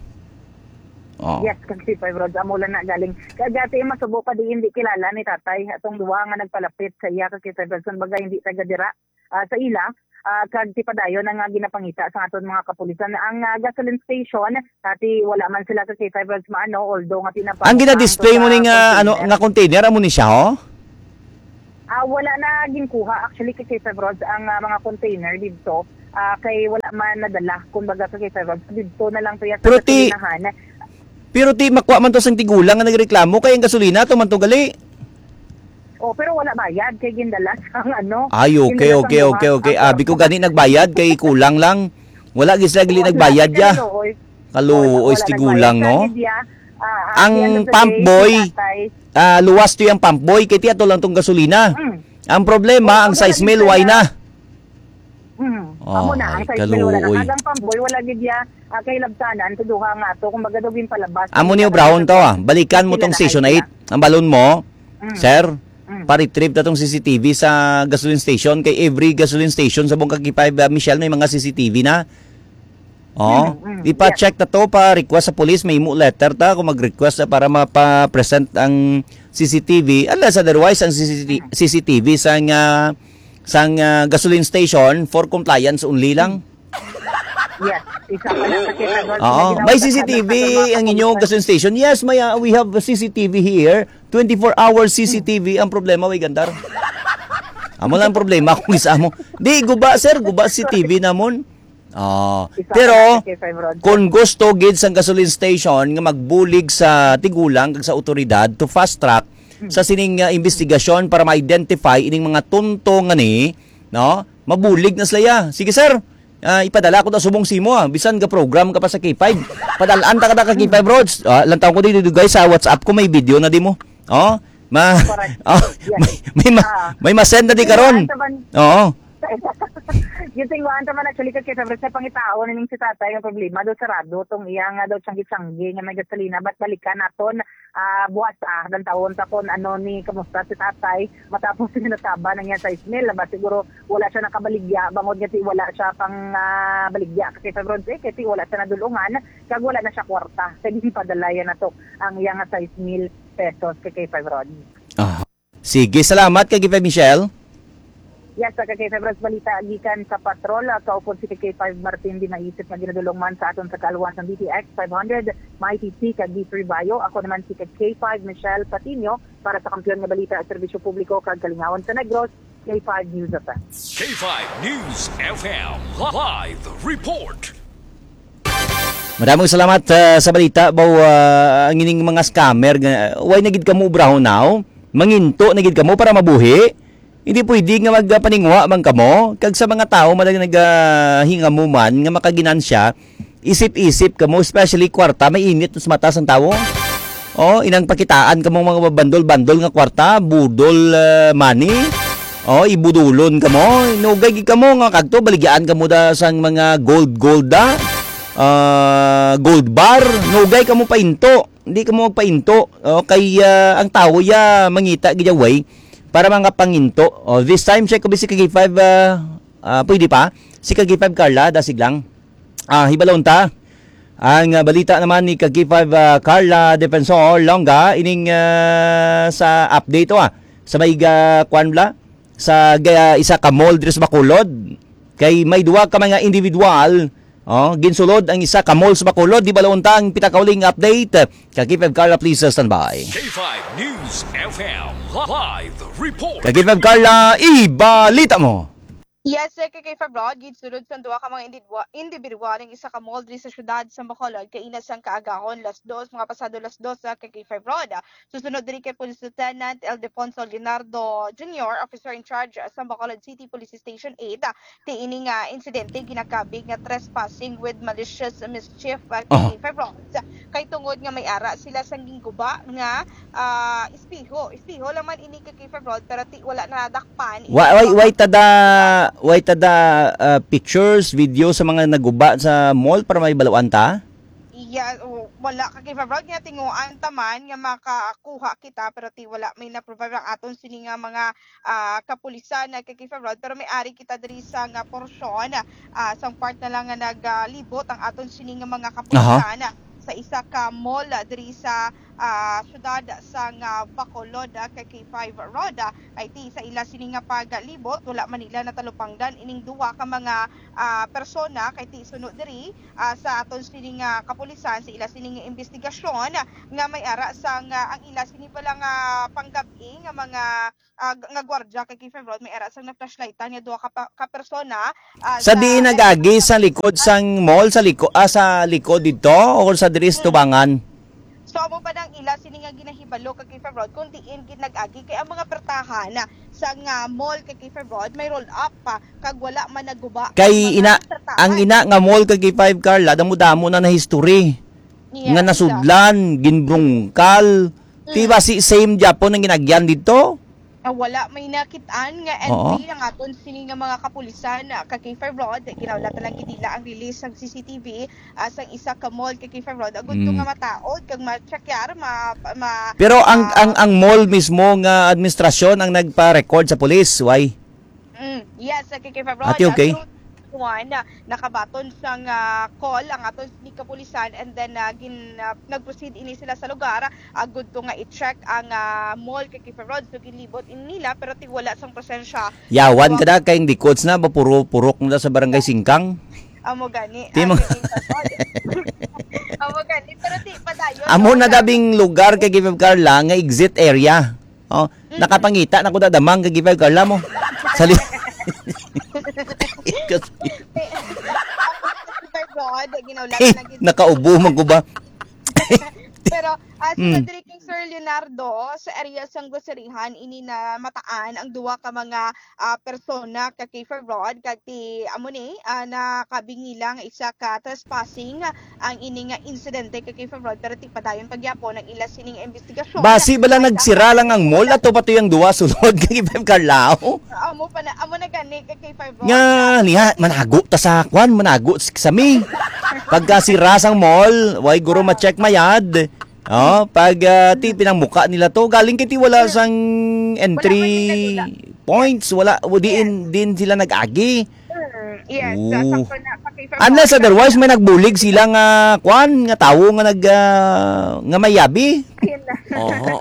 Oh. Yes, kag si Five Rods, amo lang na galing. Kag ati, masubo pa di hindi kilala ni tatay. Atong duha nga nagpalapit sa iya, kag si Five Rods, kumbaga, hindi taga dira, ah, sa ila. Ah, kag tipadayon na nga ginapangita sa aton mga kapulisan. Ang, ah, gasoline station, ati, wala man sila kag si Five Rods maano, although nga pinapa-, Ang gina-display mo ni nga, ano, nga container, amo ni siya, ho? Ah, wala na ginkuha actually kay K five Rods ang, ah, mga container didto. Ah, kay wala man nadala, kumbaga, kay K five Rods. Didto na lang to ya sa Pero ti-, gasolinahan. Pero ti, makuha man to sang tigulang nga nagreklamo kay ang gasolina to man to gali. Oh, pero wala bayad kay gindala sang ano, Ay, okay, gindala sang okay, buhat okay, okay. ang Abi ko kwarta. Gani nagbayad kay kulang lang. Wala gid sila gali Wala, nagbayad ya. Kaluoy. Kaluoy, wala, wala tigulang, nagbayad. No? Kaya gid ya, ah, Ang at the end of the pump day, boy, si tatay, ah, luwas to yung pump boy, kay tiya to lang tong gasolina. Mm. Ang problema, ang size meal, why na? Hmm. Oh, amo na, ang size meal wala na. Kag ang pamboy, wala gid ya, ah, kay labsanan sa duha nga ato, kumbaga daw ginpalabas. Amo ni obrahon to, ah. Balikan mo tong station eight. Ang balon mo, sir, pa-retrieve ta tong C C T V sa gasoline station. Kay every gasoline station sa buong K five, ah, Michelle, may mga C C T V na. Oh, mm, mm, ipa-check ta to, pa-request sa police, may imo letter ta kung mag-request na para mapa-present ang C C T V. Unless otherwise, ang C C T V, C C T V sang, ah, sang, ah, gasoline station for compliance only lang. Yes, isa pa lang kasi, ano, Oo, may C C T V ang inyong gasoline station. Yes, may, ah, we have a C C T V here. Twenty-four hours C C T V. Ang problema, way gandar. Amo lang ang problema kung isa mo. Di, guba, sir, guba C C T V namon. Oh, pero kung gusto gid sang gasoline station nga magbulig sa tigulang kag sa awtoridad to fast track sa sining, ah, investigasyon para ma-identify ining mga tunto nga ni, no? Mabulig na sila ya. Sige, sir. Ah, ipadala ko ta subong simo, ah. Bisan ga program ka pa sa K five. Padal-an ta ka, ka K five Roads. Ah, lantaw ko di, di, guys, sa WhatsApp ko may video na di mo. Oh, ma, oh, may, may, ma, may ma-send na di karon. Oo. Gitingwaan ta man actually, Ka K five Roads, sa pangitaon ning si tatay, ang problema daw sarado tong iya nga daw tiyanggi-tiyanggi nga may gasolina, but balikan naton, ah, buwas, ah, lantawon ta kon ano ni, kamusta si tatay matapos nga nataba na niya sa Ismail, ba siguro wala siya nakabaligya, bangod nga ti wala siya pang, ah, baligya, Ka K five Roads, eh, kay ti wala siya nadulungan, kag wala na siya kwarta, kay di padalayan nato ang iya nga sais mil pesos, Ka K five Roads. Ah. Sige, salamat, Ka K five Michelle. Yes, sa Ka K five Roads, balita gikan sa patrol, ah, kaupod si Ka K five Martin Di Maisip nga ginadulong man sa aton sa kaalwan sang D T X five hundred, Mighty T, kag D three Bayo. Ako naman si Ka K five Michelle Patiño para sa Kampiyon nga Balita, Serbisyo Publiko, kag Kalingawan sa Negros, K five News F M. K five News F M live report. Maraming salamat, ah, sa balita. Baw, ah, ang ining mga scammer nga, why na gid kamo obrahon now? Manginto na gid kamo para mabuhi? Hindi pwede nga magpaninguha man kamo. Kag sa mga tawo man nga nagahingamo man nga makaginansya, isip-isip kamo, especially kwarta, may init sa mata sang tawo. Oh, inang pakitaan kamo mga bandol-bandol nga kwarta, budol, ah, money. Oh, ibudulon kamo. Nugay gid kamo nga kadto, baligyaan kamo da sang mga gold, gold da. Ah, gold bar. Nugay kamo painto. Hindi kamo magpainto. Oh, kay, ah, ang tawo ya mangita gid ya way para mga panginto. Oh, this time, check ko si K five, ah, ah, pwede pa? Si K five Carla, dasig lang. Ah, hibalon ta. Ang, ah, balita naman ni Kag K five, ah, Carla Defensor Longa, ining, ah, sa update, oh, ah, sa may, ah, kwan bala, sa ga-, isa ka mall diri sa Bacolod. Kay may duha ka mga individual, oh, ginsulod ang isa ka mall sa Bacolod. Di bala unta ang pinakauling update. Kag K five Carla, please, uh, stand by. K five News F M live report. Kag K five Carla, ibalita mo. Yes, sir, K K five Broad, ginsulod sang duha ka mga indidwa-, individual ang isa ka mall diri sa siyudad sa Bacolod, kaina sang kaagahon, las dos, mga pasado las dos, sa K K five Broad. Susunod diri kay Police Lieutenant Ildefonso Leonardo Junior, officer in charge sa Bacolod City Police Station eight, ti ini nga insidente ginakabig nga trespassing with malicious mischief, ah, Aha. K K five Broad. Kay tungod nga may ara sila sang ginguba nga, ah, espeho. Espeho lang man ini, K K five Broad, pero ti wala nadakpan. Wa-, way, way tada, way tada, ah, pictures, video sa mga naguba sa mall para may baluan ta? Iya, o, wala, K K five Broad, nga tinguan ta man nga makakuha kita, pero ti wala may na-provide ang aton sini nga mga, ah, kapulisan, ah, K K five Broad, pero may ari kita diri sa nga porsyon, ah, sang part na lang nga naglibot ang aton sini nga mga Aha. kapulisan, ah, sa isa ka mall, ah, diri sa, ah, siyudad sang, ah, Bacolod, ah, K K five Broad, ah, kay ti sa ila sini nga paglibot, wala man nila natalupangdan ining duha ka mga, ah, persona, kay ti suno diri, ah, sa aton sini nga kapulisan, sa ila sini nga imbestigasyon, nga may ara sang, ah, ang ila sini pala nga panggab-i nga mga, ah, g-, nga gwardya kay K five Broad, may ara sang na-flashlightan nga duha ka pa-, ka persona, ah, Sa sa diin nag-agi, sa likod sang mall, sa liko-, ah, sa likod didto, o sa diri sa Mm. tubangan? So, amo pa nang ila sini nga ginahibalo kag K five Broad, kung diin gid nag-agi, kay ang mga pertahan sa nga mall kay K five Broad, may roll up pa, kag wala man naguba ang Kay mga ina, pertahan. Ang ina nga mall kay K five, Carla, damo-damo na na history. Yes, nga nasudlan, ginbrungkal. Ti Mm. ba si same gyapon ang ginagyan didto? Ah, wala may nakit-an nga Oo. entry ang aton sini nga mga kapulisan, ah, ka K five Rod. Ginawlat na lang gid nila ang release sang C C T V, ah, sang isa ka mall ka K five Rod. Agud to Mm. nga mataod kag ma-checkar, ma-, ma-, Pero ang, ah, ang, ang mall mismo nga administrasyon ang nagpa-record sa pulis, why? Mm, yes, sa K K five Rod. Ate, okay? Through one, ah, nakabaton sang, ah, call ang aton ni kapulisan, and then, ah, gin-, ah, nag-proceed ini sila sa lugar, agud to nga i-check ang, ah, mall ka K five Rod. So, ginlibot ini nila, pero ti wala sang presensya. Yawan So, ka da, kay ang dikods na, ba, puro, purok na sa Barangay Singkang? Amo gani, Ti mo- amo gani, K five Rod. Amo gani, pero ti padayon, Amo na wala. Dabing lugar kay K five Carla nga exit area. Oh, Mm. Nakapangita na ko dadamang kay K five Carla mo. Sali. K five Rod, ginawlan Eh, na gid. Nakaubo man ko ba? Pero, ah, sa Mm. Rodriguez, Sir Leonardo, sa area sang groceryhan, ini na mataan ang duwa ka mga, ah, persona ka K five Rod, kag ti, amo ni, ah, nakabingi lang isa ka trespassing ang ini nga insidente ka K five Rod, pero ti padayon pa gyapon ang ila sining investigasyon. Basi bala Ay, nagsira lang ang mall, ato pa to yung duwa sulod kay K five Carlao. Amo pa na, amo na gani ka K five Rod. Nga, niya, manago ta sa kwan, manago s-, sa mi. Pagka sira sang mall, way guro ma-check mayad. Oh, pag, ah, ti pinangmuka nila to, galing kay ti wala sang entry Wala may nadula. Points, wala, o diin, Yes. diin sila nag-agi. Mm, yes, Oo. Sakto na, pa-K five Unless Rod. Otherwise, may nagbulig sila nga, kwan, nga tawo nga nag, ah, nga may yabi. Ayun na. Oho.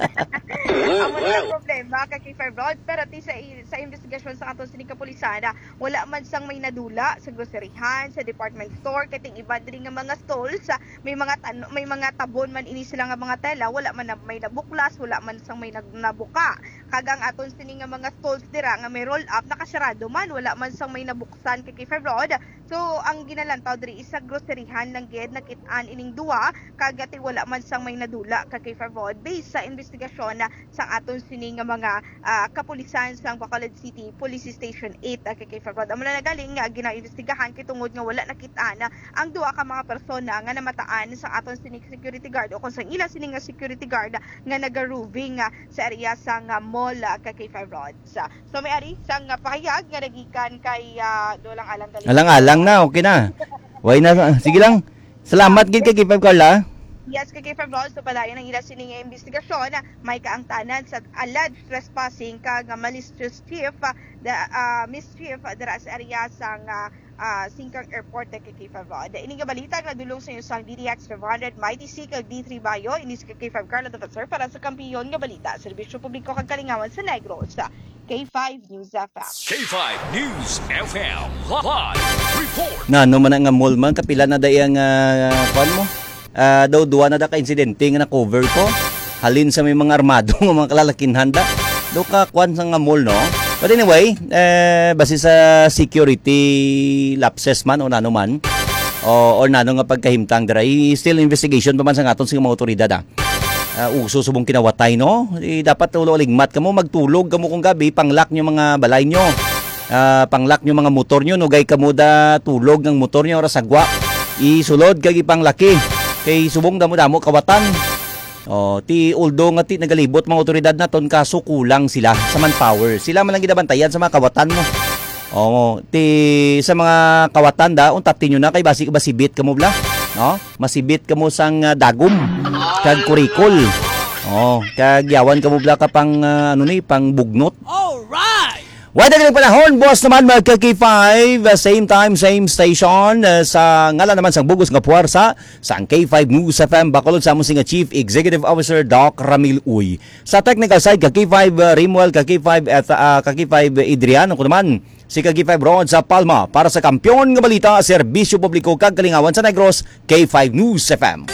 Amo na ang problema ka K five Rod, pero ti sa i-, sa investigasyon sa aton sining kapulisan, ah, wala man sang may nadula sa groceryhan, sa department store, kay ting iba diri nga mga stalls, ah, may mga tan-, may mga tabon man ini sila nga mga tela, wala man na, may nabuklas, wala man sang may nag-, nabuka. Kag ang aton sini nga mga stalls dira nga may roll up, nakasarado man, wala man sang may nabuksan kay K five Rod. So, ang ginalantaw diri is sa groceryhan lang gid nakit-an ining duwa, kag ti wala man sang may nadula ka K five Rod. Based sa investigasyon na sang aton sini nga mga, ah, kapulisan sang Bacolod City Police Station eight, ah, ka K five Rod. Amo na nagaling nga ginaimbestigahan kay tungod nga wala nakit-an ang duwa ka mga persona nga namataan sang aton sini security guard o kung sang ila sini nga security guard nga naga-roving, ah, sa area sang, ah, mall, ah, ka K five Rods. Ah, so may ari sang, ah, pahayag nga nagikan kay, ah, Dolang Alang Galing. Alang-alang na, okay na. Way na, sige lang. Salamat gid kay K five Carla. Yes, kay K five Rods, so padayon ang ila sini nga investigasyon. May kaangtanan sa alleged trespassing kag malicious chief, ah, da-, ah, mischief, ah, dira sa area sang, ah, ah, Singkang Airport, eh, kay K five Rod. Ini nga balita nga dulong sa inyo sang D D X five hundred, Mighty C, kag D three Bayo. Ini si K five Carla Defensor para sa Kampiyon nga Balita, Serbisyo Publiko kag Kalingawan sa Negros. K five News F M. K five News F M live report. Nano man nga mall man, kapila na da iya nga, ah, kuwan mo? Ah, daw duwa na da ka insidente nga na-cover ko. Halin sa may mga armado nga mga kalalakinhan da. Daw ka kuwan sa nga mall, no? But anyway, eh, base sa security lapses man o nano man, o, or nano nga pagkahimtang dira, i-, still investigation pa man sa aton sa mga otoridad, ah. Ah, uso subong kinawatay, no? Eh, dapat ulo ligmat kamo, magtulog kamo kung gabi, pang-lock nyo mga balay nyo. Ah, pang-lock nyo mga motor nyo, nugay kamo da tulog ng motor nyo, oras agwa. Isulod kag ipanglaki. Kay subong damo-damo kawatan. Oh, ti uldo nga ti nagalibot mga otoridad naton, kaso kulang sila sa manpower. Sila man lang ginabantayan sa mga kawatan mo. Oh, ti sa mga kawatan da, untat tinyo na kay basi masibit kamo bla, no? Masibit kamo sang, ah, dagom kag kurikol. Oh, kag yawan kamo bla ka pang, ah, ano ni, pang bugnot. Alright! Wala na panahon, boss naman, mga ka K five, ah, same time, same station, ah, sa ngalan naman sang bugos nga puwersa, sang K five News F M, bakulod sa amon sing Chief Executive Officer, Doc Ramil Uy. Sa technical side, ka K five, ah, Rimuel, ka K five, at, ah, ka K five, Adrian, ako naman, si ka K five Ron sa Palma, para sa Kampiyon nga Balita, Serbisyo Publiko, kag Kalingawan sa Negros, K five News F M.